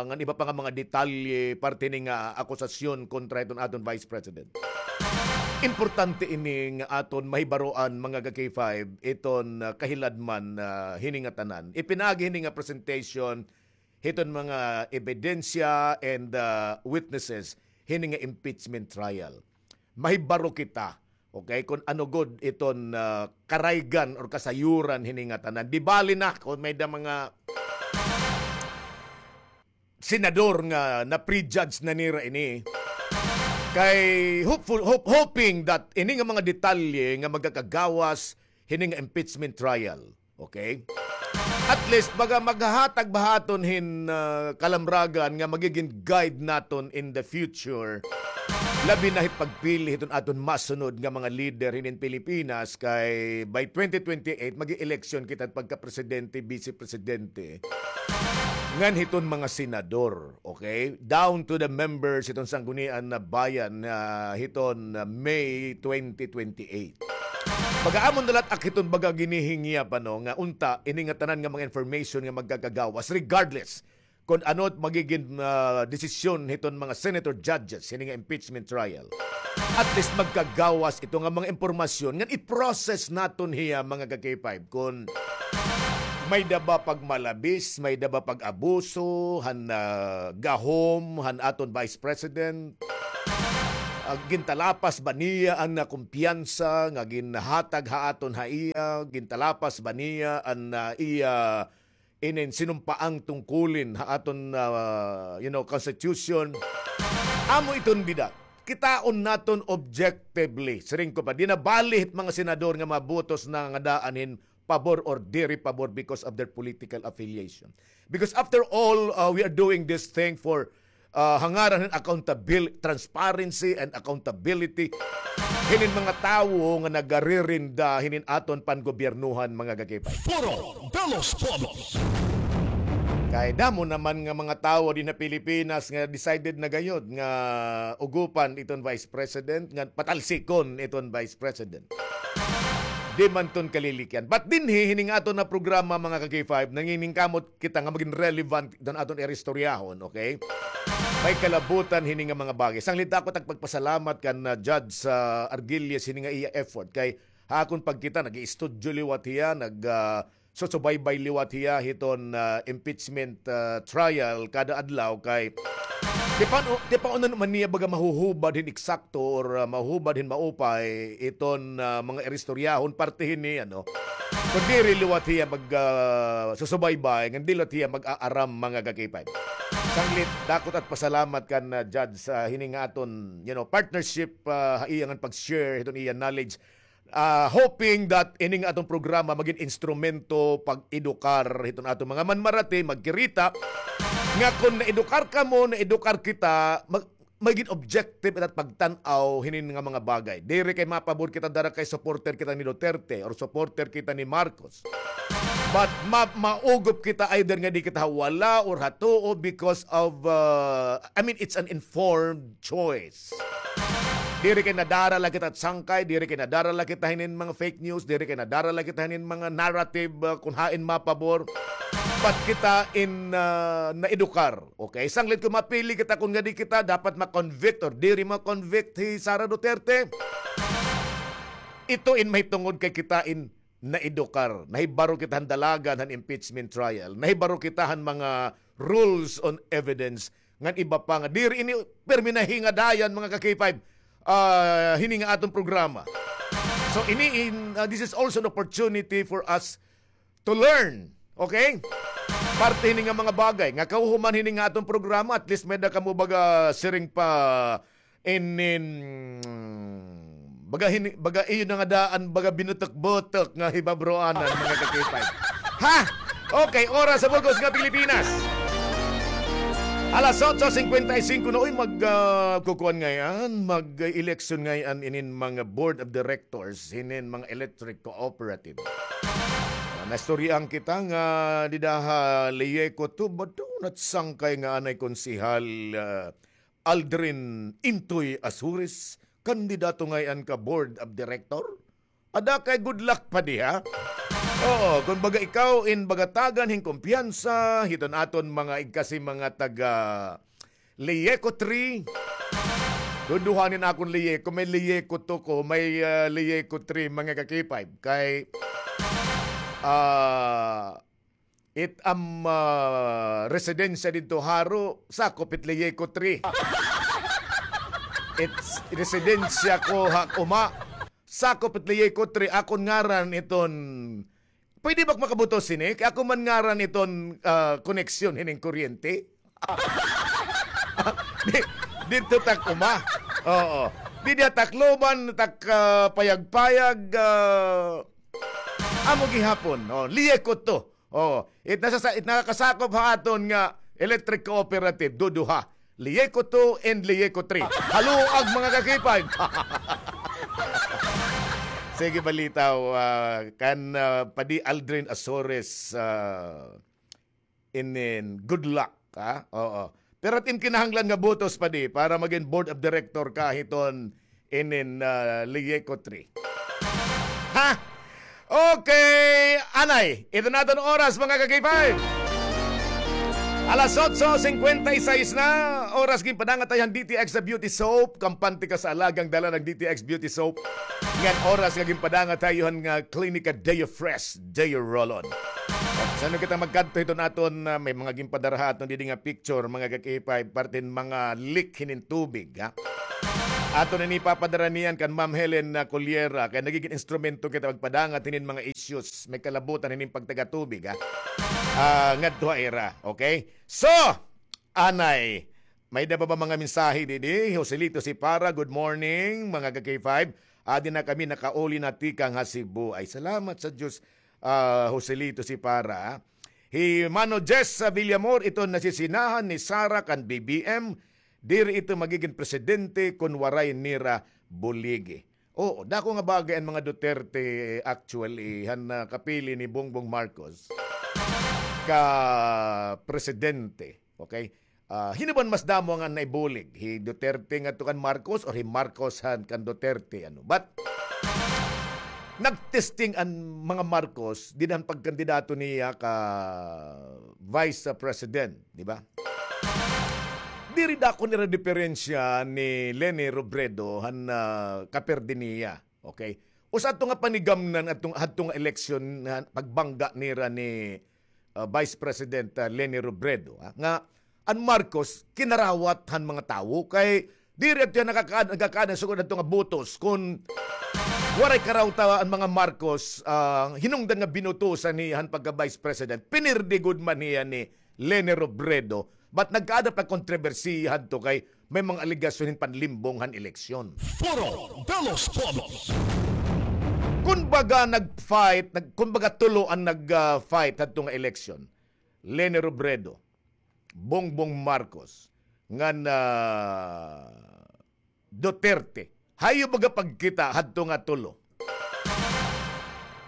ngan iba pa nga mga detalye parte hini nga akusasyon kontra iton aton Vice President. Importante ini nga aton mahibaroan, mga ka-K five, iton, ah, kahiladman, ah, hini nga tanan. Ipinaagi hini nga presentation hiton mga ebidensya and, ah, witnesses hini nga impeachment trial. Mahibaro kita, okay, kon ano gud iton, ah, karaygan or kasayuran hini nga tanan. Di bali na kon may-ada mga senador nga na-prejudge na nira ini. Kay hopeful, hope-, hoping that ini nga mga detalye nga magakagawas hini nga impeachment trial. Okay? At least, baga maghahatag ba ha aton hin, ah, kalamragan nga magigin guide naton in the future. Labi na hit pagpili hiton aton masunod nga mga leader hinin Pilipinas, kay by twenty twenty-eight, mag-eleksyon kita pagka-presidente, vice-presidente. Ngan hiton mga senador, okay? Down to the members hiton Sanggunian nga Bayan, ah, hiton, ah, May twenty twenty-eight. Baga amo na la it ak hiton baga ginihingya pa, no, nga unta, ini nga tanan nga mga information nga magkakagawas, regardless kun ano it magigin, ah, desisyon hiton mga senator judges hini nga impeachment trial. At least magkagawas ito nga mga impormasyon ngan i-process naton hiya, mga ka-K five, kun may-ada ba pagmalabis, may-ada ba pag-abuso han, ah, gahom han aton Vice President. Ah, gintalapas ba niya an, ah, kumpiyansa nga ginhatag ha aton ha iya? Gintalapas ba niya an, ah, iya inin sinumpaang tungkulin ha aton, ah, you know, constitution? Amo iton bida. Kitaon naton objectively. Siring ko pa, di na bali hit mga senador nga mabutos na nga daan hin pabor or diri pabor because of their political affiliation. Because after all, uh, we are doing this thing for, uh, ha ngaran hin accountabil-, transparency and accountability hinin mga tawo nga nagaririnda hinin aton pangobyernohan, mga ka-K five. Foro de los Pueblos. Kay damo naman nga mga tawo dinhi ha Pilipinas nga decided na gayod nga ugupan iton Vice President, nga patalsikon iton Vice President. Di man ton kalilikyan. But dinhi, hini nga aton nga programa, mga ka-K five, nanginingkamot kita nga magin relevant don aton iristoryahon, okay? May kalabutan hini nga mga bagay. Sanglit ako it ak pagpasalamat kan, ah, Judge, ah, Argilles hini nga iya effort. Kay ha akon pagkita, nag-iistudyo liwat hiya, nag, ah, susubaybay liwat hiya hiton, ah, impeachment, ah, trial kada adlaw kay tipaon, tipaon na man niya baga mahuhubad hin eksakto or, ah, mahuhubad hin maupay iton, ah, mga iristoryahon parte hini, ano. Kun diri liwat hiya mag, ah, susubaybay, ngan diri liwat hiya mag-aaram, mga ka-K five. Sanglit, dako it ak pasalamat kan, ah, Judge, sa hini nga aton, you know, partnership, ah, ha iya ngan pag-share hiton iya knowledge. Ah, hoping that ini nga aton programa magin instrumento pag-edukar hiton aton mga manmarati, magkirita, nga kon naedukar kamo, naedukar kita, mag-, magin objective it pagtan-aw hinin nga mga bagay. Diri kay mapabor kita dara kay supporter kita ni Duterte or supporter kita ni Marcos. But ma-, maugop kita either nga di kita ha wala or ha tuo because of, uh, I mean, it's an informed choice. Diri kay nadara la kita sangkay, diri kay nadara la kita hinin mga fake news, diri kay nadara la kita hinin mga narrative, uh, kun hain mapabor. But kita in, uh, naedukar. Okay, sanglit kon mapili kita kon ngadi kita dapat ma-convict or diri ma-convict hi Sara Duterte. Ito in mahitungod kay kita in naedukar. Nahibaro kita han dalagan han impeachment trial. Nahibaro kita han mga rules on evidence ngan iba pa nga diri ini pirmi nahingadayan, mga ka-K five, ah, hini nga aton programa. So, ini in, ah, this is also an opportunity for us to learn. Okay? Parte hini nga mga bagay nga kahuman hini nga aton programa, at least may-ada kamo baga siring pa inin, baga hini, baga iyo na nga daan, baga binutok-butok nga hibabroanan, mga ka-K five. Ha? Okay, oras sa bug-os nga Pilipinas. Alas otso singkwenta y singko na, uy, mag, ah, kukuan ngay-an, mag-eleksyon ngay-an inin mga board of directors, hinin mga electric cooperative. Ah, naistoryahan kita nga dida ha Leyeco two, bato na't sangkay nga anay konsehal, ah, Aldrin Intoy Azores, kandidato ngay-an ka board of director? Ada kay good luck pa di, ha? Oo, kon baga ikaw in baga tagan hin kumpiyansa hiton aton mga igkasi mga taga Leyeco three. Duduha nin akon Leyeco, may Leyeco two ko, may, ah, Leyeco three, mga ka-K five. Kay, ah, it am, ah, residensya didto haro, sakop it Leyeco three. It's residensya ko ha uma, sakop it Leyeco three, akon ngaran iton. Pwede ba ak makabutos hini? Kay ako man ngaran iton, ah, koneksyon hining kuryente. Di, didto tak uma. Oo. Di diha Tacloban, tak, ah, Payag-Payag, ah, amo gihapon. Oh, Leyeco two. Oh, it nasa-, it nakakasakop ha aton nga electric cooperative, duduha. Leyeco two and Leyeco three. Haluag, mga ka-K five. Sige, balitaw, ah, kan, ah, Padi Aldrin Azores, ah, inin, good luck, ha? Oo. Pero it im kinahanglan nga botos, Padi, para magin board of director ka hiton inin, ah, Leyeco three. Ha? Okay, anay. Ito na aton oras, mga ka-K five. Alas otso singkwenta y seis na, oras ginpadangat tayo han D T X Beauty Soap. Kampante ka sa alagang dala ng D T X Beauty Soap. Ngan oras nga ginpadangat tayo han nga Clinica Deo Fresh, Deo Roll-On. Sa ano kita magkadto hiton aton, ah, may mga ginpadara ha aton didi nga picture, mga ka-K five, parte hin mga leak hinin tubig, ha? Aton ini ipapadara niyan kan Ma'am Helen, ah, Cullera, kay nagigin instrumento kita magpadangat hinin mga issues, may kalabutan hinin pagtagatubig, ha? Ah, ngadto ha ira, okay? So, anay, may-ada pa ba mga mensahe didi? Joselito Sipara, good morning, mga ka-K five. Adi na kami nakauli na tikang ha Cebu. Ay, salamat sa Diyos, ah, Joselito Sipara. Hi Mano Jess Villamor, ito nasisinahan ni Sara kan B B M. Diri ito magigin presidente kon waray nira buligi. Oo, dako nga bagay an mga Duterte, actually, han, ah, kapili ni Bongbong Marcos ka presidente. Okay? Ah, hin-o ba an mas damo nga naibulig? Hi Duterte ngadto kan Marcos or hi Marcos han kan Duterte, ano? But, nagtesting an mga Marcos dida han pagkandidato niya ka vice president, di ba? Diri dako nira diperensya ni Leni Robredo han, ah, kaperde niya. Okay? Usa adto nga panigamnan adto, adto nga eleksyon nga pagbangga nira ni, ah, Vice President, ah, Leni Robredo, ah, nga an Marcos kinarawat han mga tawo kay diri adto hiya nakaka-, nagakaada sugod adto nga botos kon waray karawta an mga Marcos, ah, hinungdan nga binutosan hiya han pagka-Vice President, pinirdi gud man hiya ni Leni Robredo. But nagkaada pa kontrobersiya hadto kay may mga alegasyon hin panlimbong han eleksyon. Foro de los Pueblos. Kumbaga nag-fight, nag-, kumbaga tulo an nag, ah, fight hadto nga eleksyon. Leni Robredo, Bongbong Marcos, ngan, ah, Duterte. Hayo baga pagkita hadto nga tulo.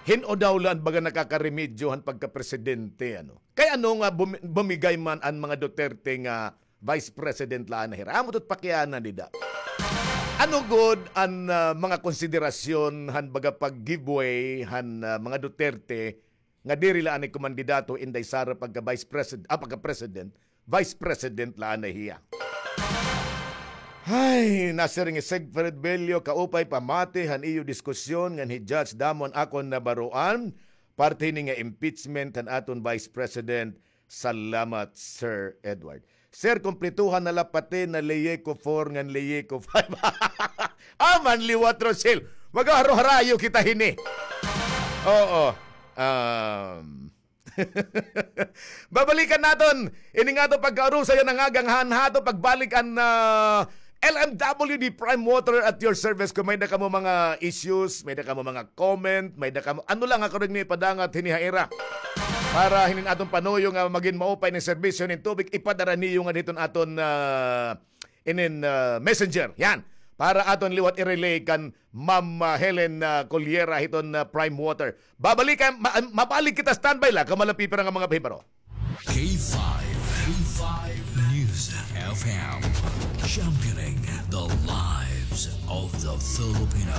Hin-o daw la an baga nakakaremedyo han pagkapresidente, ano? Kay ano nga bumi-, bumigay man an mga Duterte nga vice president la anay hira? Amo to't pakiana dida. Ano gud an, ah, mga konsiderasyon han baga pag-give way han, ah, mga Duterte nga diri la anay kumandidato Inday Sara pagka vice president, ah, pagka president, vice president la anay hiya. Hay, nasiring hi Siegfried Bello, kaupay pamati han iyo diskusyon ngan hi Judge, damo an akon nabaroan, parte hini nga impeachment han aton vice president. Salamat, Sir Edward. Sir, kumplituhan na la pati na Leyeco four ngan Leyeco five. Ah, manliwat, Rosel. Magharo-harayo kita hini. Oo. Um, babalikan naton ini nga aton pagkaurusa yana nga agang han ha aton pagbalik an, ah, L M W D Prime Water at your service. Kon may-ada kamo mga issues, may-ada kamo mga comment, may-ada kamo, ano la nga karuyag niyo ipadangat hini ha ira. Para hinin aton panuyo nga magin maupay an serbisyo hin tubig, ipadara niyo ngada hiton aton, ah, inin, ah, messenger. Yan. Para aton liwat i-relay kan Ma'am, ah, Helen, ah, Cullera hiton, ah, Prime Water. Babalikan, ma-, mabalik kita, standby la, kamo la pipira nga mga pahibaro. K five, K five News F M, championing the lives of the Filipino.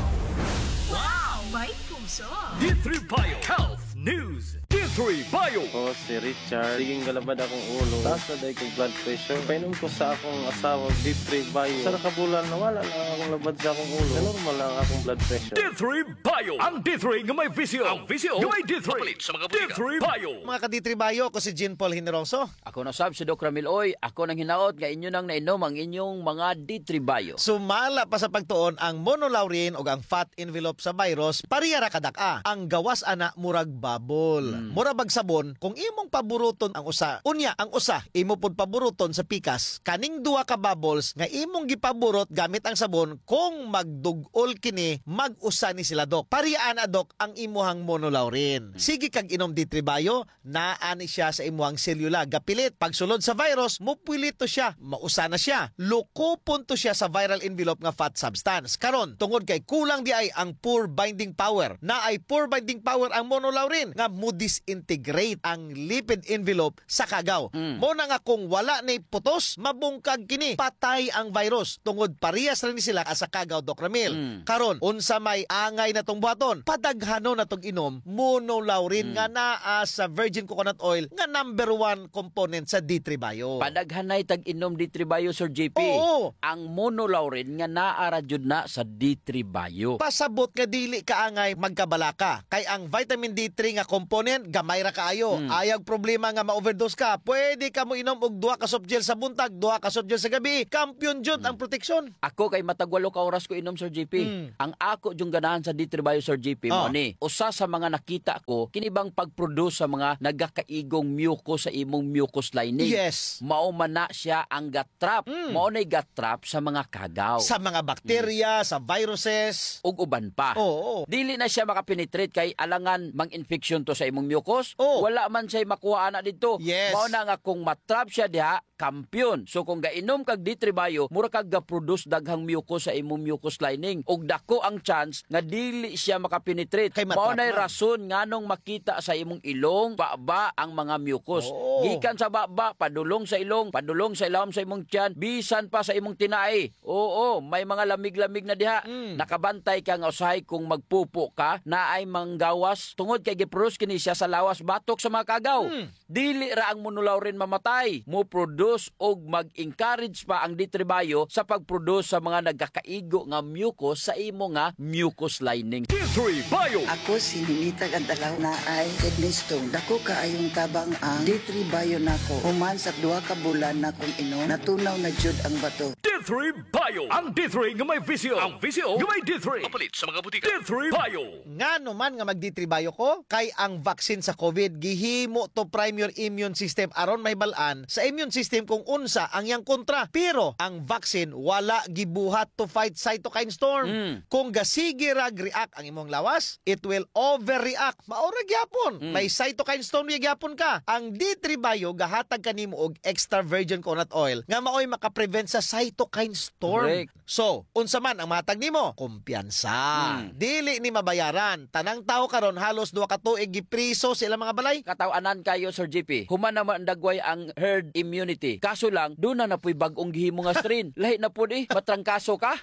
Wow! May puso! D three Bio Health News. D three Bio. Ako si Richard. Sige nga labad akong ulo. Taas na diay kog blood pressure. Painom ko sa akong asawa, D three Bio. Usa ra ka bulan, nawala na akong labad sa akong ulo. Normal na ang akong blood pressure. D three Bio. Ang D three nga may visyo. Ang visyo nga may D three. Mapalit sa mga botika. D three Bio. Mga ka-D three Bio, ako si Jean Paul Generoso. Ako na sab si Doc Ramil Oy. Ako nanghinaot nga inyo nang nainom ang inyong mga D three Bio. Sumala pa sa pagtuon, ang monolaurin ug ang fat envelope sa virus, pareha ra kadak-a. Ang gawas ana murag bubble. Hmm. Mura bag sabon, kung imong paburuton ang usa, unya ang usa imo pod paburuton sa pikas, kaning duha ka bubbles nga imong gipaburot gamit ang sabon, kung magdug-ol kini, mag-usa ni sila, Doc. Pareha ana, Doc, ang imuhang monolaurin. Hmm. Sige kag inom D three Bio, naa ni siya sa imuhang selula. Gapilit, pagsulod sa virus, mupwilito siya. Mausa na siya. Lukopon to siya sa viral envelope nga fat substance. Karon, tungod kay kulang diay ang pore binding power. Naay pore binding power ang monolaurin nga modis-, integrate ang lipid envelope sa kagaw. Mm. Mao na nga kung wala ni putos, mabungkag kini, patay ang virus. Tungod parehas ra ni sila sa kagaw, Doc Ramil. Mm. Karon, unsa may angay natong buhaton? Padaghanon natog inom monolaurin Mm. nga naa sa virgin coconut oil nga number one component sa D three Bio. Padaghanay tag inom D three Bio, Sir J P. Oo. Ang monolaurin nga naa ra jud na sa D three Bio. Pasabot nga dili kaangay magkabalaka. Kay ang vitamin D three nga component, gamay ra kaayo. Mm. Ayag problema nga ma-overdose ka. Pwede ka moinom og duha ka soft gel sa buntag, duha ka soft gel sa gabi. Kampiyon jud Mm. ang proteksyon. Ako kay matag walo ka oras ko inom, Sir J P. Mm. Ang ako jung ganahan sa D three Bio, Sir J P, mao Oh. ni. Usa sa mga nakita ko, kini bang pag-produce sa mga nagakaigong mucus sa imong mucus lining. Yes. Mao man na siya ang ga-trap. Mm. Mao na'y ga-trap sa mga kagaw. Sa mga bakterya, Mm. sa viruses. Ug uban pa. Oo. Dili na siya makapenetrate kay alangan mang-infeksyon to sa imong mucus. Oo. Wala man siya'y makuha ana didto. Yes. Mao na nga kung ma-trap siya diha, kampiyon. So, kung gainom kag D three Bio, mura kag ga-produce daghang mucus sa imong mucus lining. Ug dako ang chance nga dili siya makapenetrate. Kay Mao matrap na'y man. rason nganong makita sa imong ilong, baba ang mga mucus. Oo. Gikan sa baba, padulong sa ilong, padulong sa ilawom sa imong tiyan, bisan pa sa imong tinai. Oo, may mga lamig-lamig na diha. Mm. Nakabantay ka nga usahay kung magpupo ka, naay manggawas. Tungod kay gi-produce kini siya sa lawas batok sa mga kagaw. Mm. Dili ra ang monolaurin mamatay, mo-produce og mag-encourage pa ang D three Bio sa pag-produce sa mga nagkakaigo nga mucus sa imo nga mucus lining. D three Bio. Ako si Ninita Gantalaw, naay kidney stone. Dako kaayong tabang ang D three Bio nako. Human sa duha ka bulan nakong inom, natunaw na jud ang bato. D three Bio. Ang D three nga may visyo. Ang visyo nga may D three. Mapalit sa mga butika. D three Bio. Ngano man nga mag-D three Bio ko? Kay ang vaccine sa COVID gihimo to prime your immune system aron mahibal-an sa immune system kung unsa ang iyang kontra. Pero ang vaccine wala gibuhat to fight cytokine storm. Mm. Kung gasige ra react ang imong lawas, it will overreact. Mao ra gyapon. Mm. May cytokine storm ra gyapon ka. Ang D three Bio gahatag kanimo og extra virgin coconut oil nga maoy makaprevent sa cytokine storm. Correct. So, unsa man ang mahatag nimo? Kumpiyansa. Hmm. Dili ni mabayaran. Tanang tawo karon halos duha ka tuig gipriso sa ilang mga balay. Kataw-anan kayo, Sir J P. Human naman dagway ang herd immunity. Kaso lang, duna na po'y bag-ong gihimo nga strain. Lahi na pod eh, matrangkaso ka.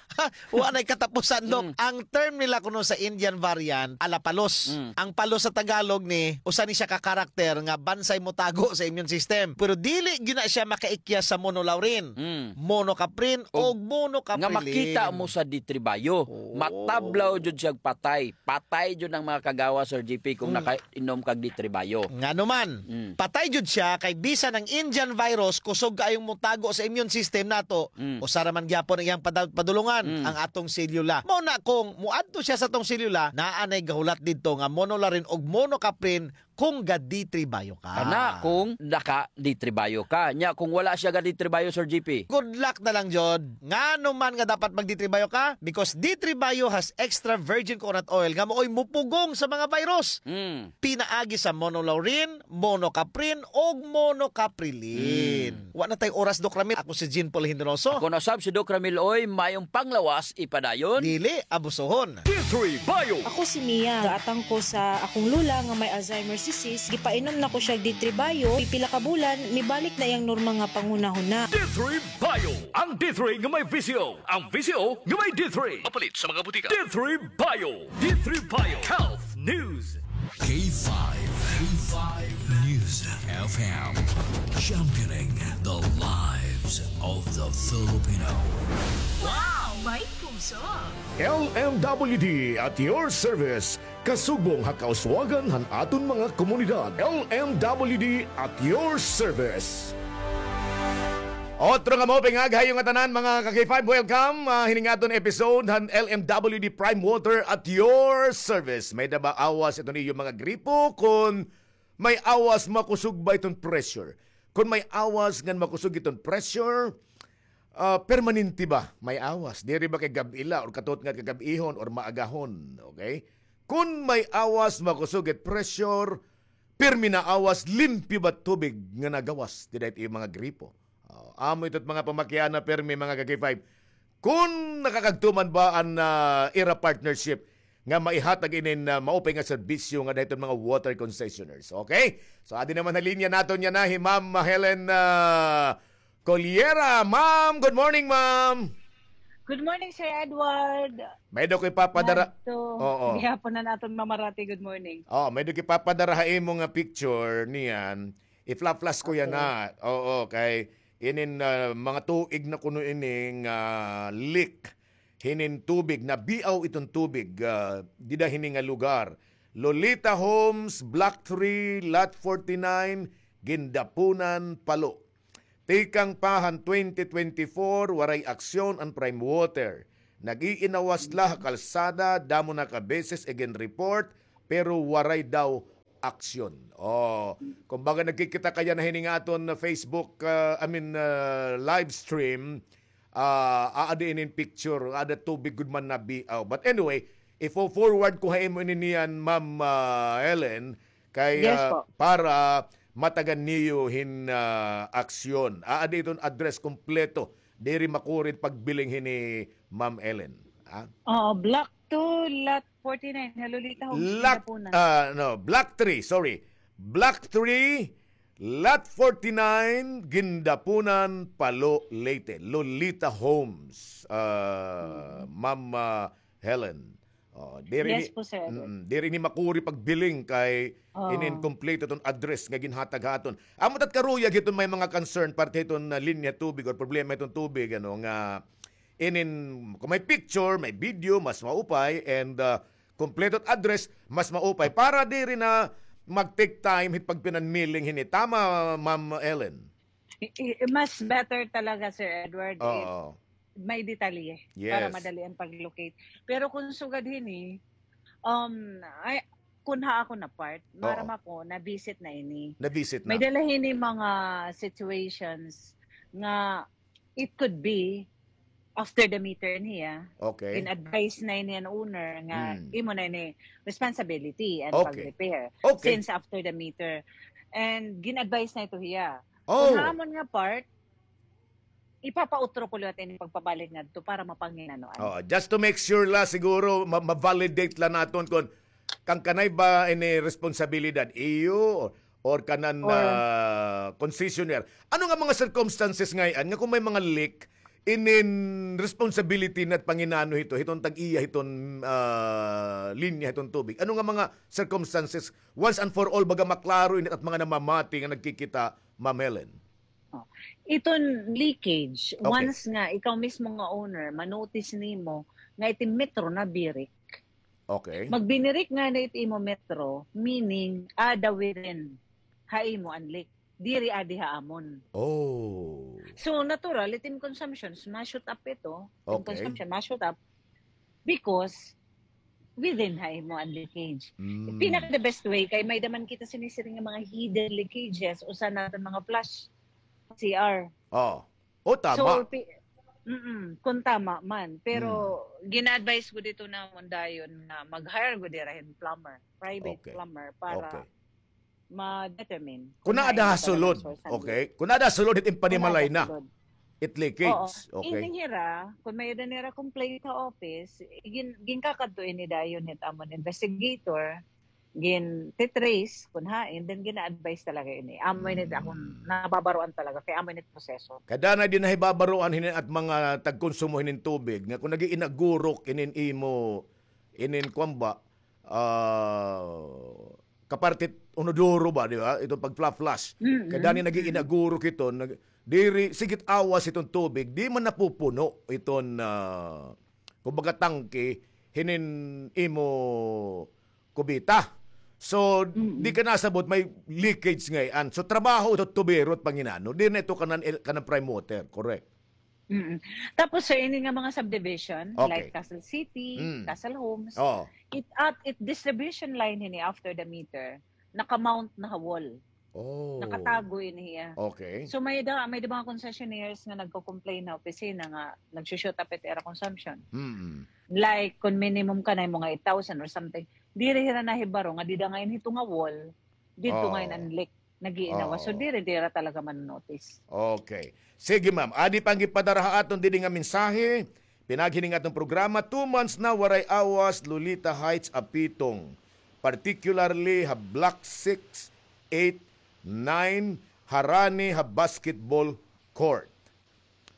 Wa na'y katapusan, Doc. Mm. Ang term nila kuno sa Indian variant, ala palos. Mm. Ang palos sa Tagalog ni, usa ni siya ka karakter nga bansay motago sa immune system. Pero dili gyud na siya makaikyas sa monolaurin, Mm. monocaprin, Og o monocaprilin. Nga makita mo sa D three Bio. Oo. Matablaw jud siya patay. Patay jud ang mga kagawa, Sir J P, kung Mm. naka- inom kag D three Bio. Ngano man? Mm. Patay jud siya kay bisan ang Indian virus kusog kaayong motago sa immune system nato, Mm. usa ra man gyapon ang iyang pada-, padulungan, Mm. ang atong selula. Mao na kung moadto siya sa atong selula, naa nay gahulat didto nga monolaurin og monocaprin kung ga D three Bio ka. Kana kung naka D three Bio ka. Nya kung wala siya ga D three Bio, Sir J P. Good luck na lang jud. Ngano man nga dapat mag D three Bio ka? Because D three Bio has extra virgin coconut oil nga maoy mupugong sa mga virus. Mm. Pinaagi sa monolaurin, monocaprin, og monocaprilin. Mm. Wa na tay oras, Doc Ramil. Ako si Jean Paul Hindroso. Ako na sab si Doc Ramil Oy, mayong panglawas ipadayon. Dili abusohon. D three Bio. Ako si Mia. Gaatang ko sa akong lola nga may Alzheimer's disease. Gipainom na ko siya D three Bio. Pipila ka bulan, mibalik na iyang normal nga panghunahuna. D three Bio. Ang D three nga may visyo. Ang visyo nga may D three. Mapalit sa mga butika. D three Bio. D three Bio. Health News. K five. K five News F M. Championing the lives of the Filipino. Wow! May puso! L M W D at your service. Kasugbong ha kauswagan han aton mga komunidad. L M W D at your service. Otro nga maupay nga aga ha iyo ngatanan, mga ka-K five, welcome. Ah, hining aton episode han L M W D Prime Water at your service. May-ada ba awas iton iyo mga gripo? Kon may awas, makusog ba iton pressure? Kon may awas ngan makusog iton pressure, ah, permanente ba may awas? Diri ba kay gab-i la or katutnga kagab-ihon or maagahon, okay? Kon may awas, makusog it pressure, pirmi na awas, limpyo ba tubig nga nagawas dida it iyo mga gripo? Oh, amo ito it mga pamakiana, pirmi, mga ka-K five. Kon nakakagtuman ba an, ah, ira partnership nga maihatag inin, ah, maupay nga serbisyo ngada hiton mga water concessioners. Okay? So, adi naman ha linya naton yana hi Ma'am Helen, ah, Coliera. Ma'am, good morning, ma'am. Good morning, Sir Edward. May-ada ko ipapadara. Ngadto. Oo. Gihapon na naton mamarati. Good morning. Oh, may-ada ko ipapadara ha imo nga picture niyan. I-fla-flash ko yana. Okay. Oo, kay inin, ah, mga tuig na kuno ini nga leak hinin tubig, nabiaw iton tubig, ah, dida hini nga lugar. Lolita Homes, Block three, Lot forty-nine, Gindapunan, Palo. Tikang pa han twenty twenty-four, waray aksyon an Prime Water. Nag-iinawas la ha kalsada, damo na ka beses igin-report, pero waray daw aksyon. Oh, kumbaga nagkikita kaya na hini nga aton Facebook, ah, I mean, ah, live stream, ah, aada inin picture, aada tubig gud man nabiaw. But anyway, ifo-forward ko ha imo ini niyan, Ma'am, ah, Ellen, kay, Yes ah, po. para matagan niyo hin, ah, aksyon. Aada iton address kompleto. Diri makuri pagbiling hini, Ma'am Ellen. Ha? Oo, Block two, Lot forty-nine, ha Lolita Homes, Lot, Gindapunan. Ah, no, Block three, sorry. Block three, Lot forty-nine, Gindapunan, Palo, Leyte. Lolita Homes, ah, Ma'am, ah, Helen. Oh, diri ni, Yes po, sir. Mm, diri ni makuri pagbiling kay Oo. inin kompleto iton address nga ginhatag ha aton. Amo tat karuyag hiton may mga concern parte hiton, ah, linya tubig or problema hiton tubig, ano, nga inin, kung may picture, may video, mas maupay, and, ah, kompleto it address, mas maupay. Para diri na mag-take time hit pagpinanmiling hini. Tama, Ma'am Ellen? I-, i-, mas better talaga, Sir Edward, if Oo. may detalye para Yes. madali an pag-locate. Pero kung sugad hini, um, ay, kun ha ako na part, maaram Oo. ako, na-visit na ini. Na-visit na. May-ada la hini mga situations nga it could be after the meter niya. Okay. Gin-advise na ini an owner nga Hmm. imo na ini responsibility an Okay. pag-repair Okay. since after the meter. And gin-advise na ito hiya. Oh. Kung ha amon nga part, ipapautro ko liwat ini pagpabalik ngadto para mapanginanoan. Oh, just to make sure la siguro ma-, ma-validate la naton kon kan kanay ba ini responsibilidad, iyo or kanan Or ah, concessionaire. Ano nga mga circumstances ngay-an nga kung may mga leak, inin responsibility na it panginano hito, hiton tag-iya hiton, ah, linya hiton tubig? Ano nga mga circumstances, once and for all, baga maklaro ini it at mga namamati nga nagkikita, Ma'am Helen? Oh. Iton leakage, Okay. once nga ikaw mismo nga owner, ma-notice nimo nga it metro nabirik. Okay. Magbinirik ngani it imo metro, meaning, ada within ha imo an leak. Diri adi ha amon. Oh. So, natural, it im consumption, ma-shoot up ito. It im Okay. consumption, ma-shoot up because within ha imo an leakage. Mm. Pinaka the best way, kay may-ada man kita sinisiring nga mga hidden leakages, usa na iton mga flush C R. Oh. Oh, tama. So, pi-, mm, kung tama man. Pero, Mm. gina-advise ko dito namon dayon nga mag-hire gud dira hin plumber, private Okay. plumber, para Okay. ma-determine Kung kung naa hain da talaga sulod. Source and Okay. Kung naa sulod, it impanimalay na. Kung naa sulod. It leakage. Oo. Okay. Ini hira, kung may-ada nira complaint ha office, gin-, ginkakadto ini dayon hit amon investigator, gin-trace kung hain, then gina-advise talaga ini. Amo ini akon Mm. nababaroan talaga, kay amo ini proseso. Kada na din nahibabaroan hinin at mga tagkonsumo hinin tubig, nga kung nag-iinagurok inin imo, inin kwan ba, ah, kapartit unodoro ba, di ba? Itong pag-flush. Mm-mm. Kay dani nag-iinaguro kito, nag-, diri, sigit awas itong tubig, di man napupuno iton, ah, kumbaga, tangke, hinin imo kubita. So, Mm-mm. di ka nasabot, may leakage ngay-an. So, trabaho ito, tubero at panginano. Di na ito kanan, kanan prime water, correct? Mm. Tapos, sir, ini nga mga subdivision, Okay. like Castle City, Mm. Castle Homes, Oo. it, at it distribution line ini after the meter, naka-mount na ha wall. Oh. Nakatago ini hiya. Okay. So, may da, may da mga concessionaires nga nagko-complain ha opisina nga nagsushoot up it ira consumption. Mm. Like, kung minimum ka na mga eight thousand or something, diri hira nahibaro nga dida ngayon hito nga wall, dito Oh. ngayon ang leak. Nag-iinawa. So, Oo. diri, dira talaga man-notice. Okay. Sige, ma'am. Adi pa ang gipadara ha aton didi nga mensahe. Pinaghining aton programa, two months na waray awas Lolita Heights, Apitong, particularly ha Block six, eight, nine, harani ha basketball court.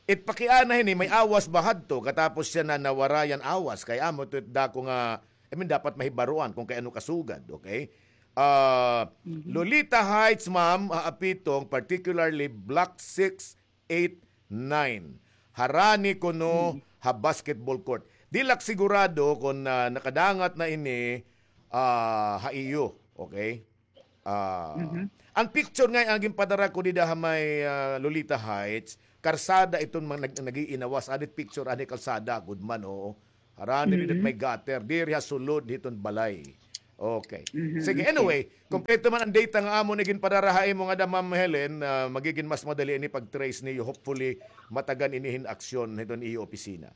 It pakiana hini, may awas ba hadto? Katapos siya na nawarayan awas, kay amo to it dako nga, I mean, dapat mahibaruan kung kay ano kasugad, okay? Ah, Lolita Heights, ma'am, ha Apitong, particularly Block six, eight, nine. Harani kuno ha basketball court. Di la ak sigurado kon, ah, nakadangat na ini, ah, ha iyo. Okay? Ah, an picture nga an ginpadara ko dida ha may, ah, Lolita Heights, karsada iton mga nag-, nag-iinawas. Adit picture, ani kalsada, good man, oo. Harani dida may gutter. Diri ha sulod hiton balay. Okay. Sige, anyway, kompleto man an data nga amo ni ginpadara ha imo ngada, Ma'am Helen, ah, magigin mas madali ini pag-trace niyo. Hopefully, matagan ini hin aksyon hiton iyo opisina.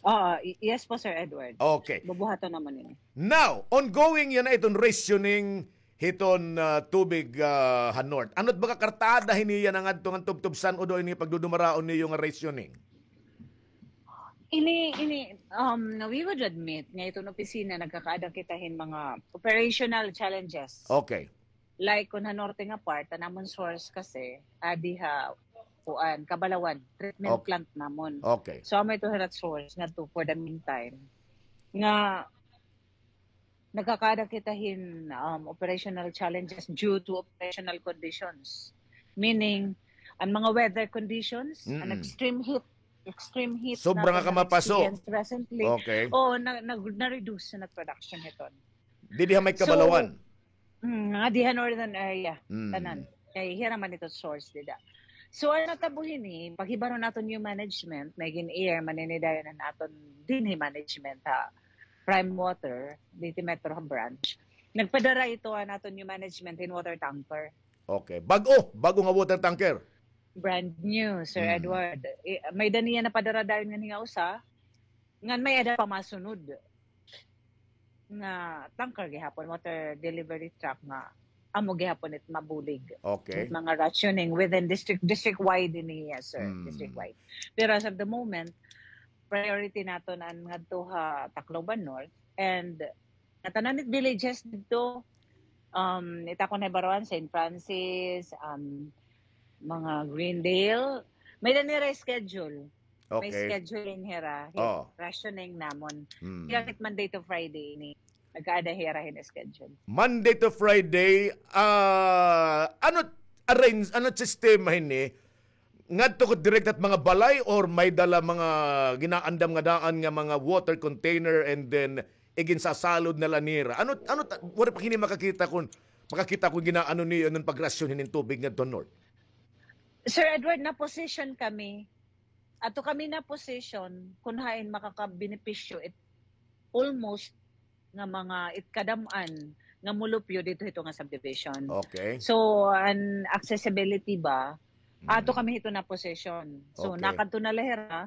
Oo, y-, yes po, Sir Edward. Okay. Bubuhaton namon ini. Now, ongoing yana iton rationing hiton, ah, tubig, ah, ha North. Ano it baga kartada hini yana ngadto ngan tubtob san-o daw ini pagdudumaraon niyo nga rationing? Ini, ini, um, we would admit nga iton opisina nagkakaada kita hin mga operational challenges. Okay. Like, kon ha norte nga part, an amon source kasi, adi ha, kuan, Kabalawan, treatment plant namon. Okay. So, amo ito hira source ngadto for the meantime. Nga, nagkakaada kita hin, um, operational challenges due to operational conditions. Meaning, an mga weather conditions, an extreme heat, extreme heat sobra nga kamapaso. Experience recently. Okay. Oo, na, na, na-reduce na production hiton. Didi ha may Kabalawan. Mm, nga diha northern area, tanan. Kay hira man ito source dida. So, an natabo hini, paghibaro naton new management, may gin-air man ini dayon an aton dinhi management ha Prime Water, Leyte Metro ha branch. Nagpadara ito an aton new management hin water tanker. Okay. Bag-o, bag-o nga water tanker. Brand new, Sir Edward. I, may-ada niya napadara dayon ngan hinga usa, ngan may-ada pa masunod nga tanker gihapon, water delivery truck nga amo gihapon it mabulig. Okay. It mga rationing within district, district-wide ini, yes, sir. District-wide. Pero as of the moment, priority naton an ngadto ha Tacloban North and ngatanan it villages didto, um, it akon nahibaroan, Saint Francis, um, mga Greendale, may-ada nira schedule. May scheduling hira, rationing namon. Hira it Monday to Friday ini. Nagkaada hira hin schedule. Monday to Friday, ah, ano arrange, ano sistema hini? Ngadto ko direct at mga balay or may dala mga ginaandam nga daan nga mga water container and then iginsasalod na la nira? Ano, ano ta-, waray pa hini makakita kun, makakita kun ginaano niyo an pagrasyon hinin tubig ngadto north? Sir Edward, na-position kami. Ato kami na-position kun hain makakabenepisyo it almost nga mga it kadam-an nga mulupyo didto hito nga subdivision. Okay. So, an accessibility ba, ato kami hito na-position. So, nakadto na la hira,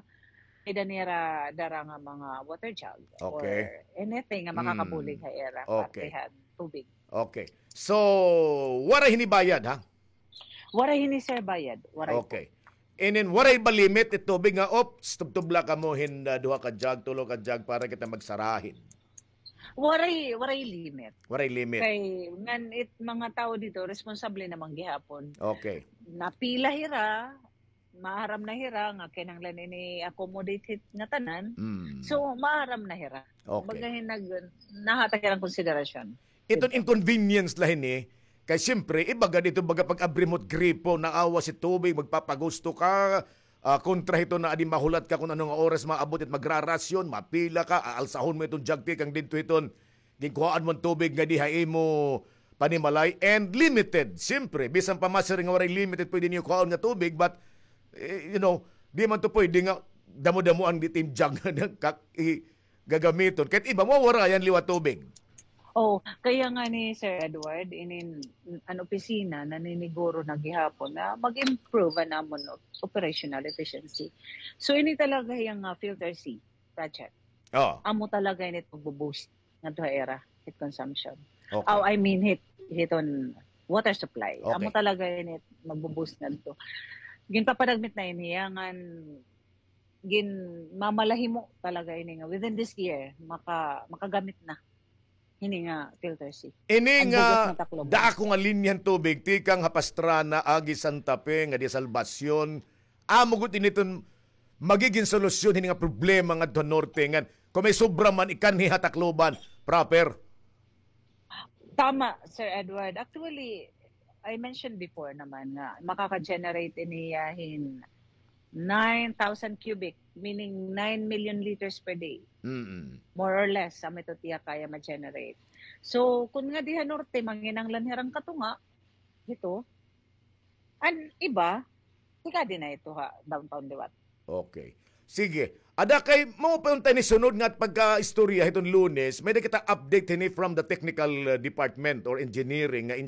may-ada nira dara nga mga water jug or anything nga makakabulig ha ira, parte han tubig. Okay. So, waray hini bayad, ha? Waray hini, sir, bayad. Waray po. Okay. And then, waray ba limit it tubig nga, "Ops, tubtob la kamo hin, ah, duha ka jug, tulo ka jug para kita magsarahin"? Waray, waray limit. Waray limit. Kay, ngan it mga tawo didto, responsable naman gihapon. Okay. Napila hira, maaram na hira nga kinahanglan ini accommodate hit ngatanan. So, maaram na hira. Okay. Baga hin nag-, nahatag hirang konsiderasyon. Iton inconvenience la hini, kay siyempre, iba gad ito baga pag-abri mo it gripo, naawas it tubig, magpapagusto ka, ah, kontra hito na adi mahulat ka kun ano nga oras maabot it magrarasyon, mapila ka, aalsahon mo iton jug tikang didto hiton ginkuhaan mo an tubig nga diha imo panimalay, and limited, siyempre, bisan pa masiring nga waray limited pwede niyo kuhaon nga tubig, but, eh, you know, di man to pwede nga damo-damo an itim jug nga nagkak-, i-, gagamiton. Kahit iba, mawawarayan liwat tubig. Oh, kaya nga ni Sir Edward, inin, an opisina, naniniguro na gihapon na mag-improve an amon op-, operational efficiency. So, ini talaga yang, ah, filter C project. Oh. Amo talaga ini it magbo-boost ngadto ha ira hit consumption. Okay. Oh, I mean, hit, hiton water supply. Okay. Amo talaga ini it magbo-boost ngadto. Ginpapadagmit na ini, ngan ginmamalahimo talaga ini nga within this year, maka-, makagamit na hini nga filter C. Ini nga dako nga linya han tubig tikang ha Pastrana agi Santa Fe nga di Salvacion, amo gud ini iton magigin solusyon hini nga problema ngadto ha norte ngan kung may sobra man ikanhi ha Tacloban proper. Tama, Sir Edward. Actually, I mentioned before naman nga makaka-generate ini, ah, hin nine thousand cubic, meaning nine million liters per day. Mm-mm. More or less, sa ito tiya kaya ma-generate. So, kun nga diha norte, manginanglan hirang katunga, hito, an iba, tika din na ito ha downtown liwat. Okay. Sige. Ada kay mo pa unta ni sunod nga pagka-istorya hiton Lunes, may da kita update hini from the technical, uh, department or engineering nga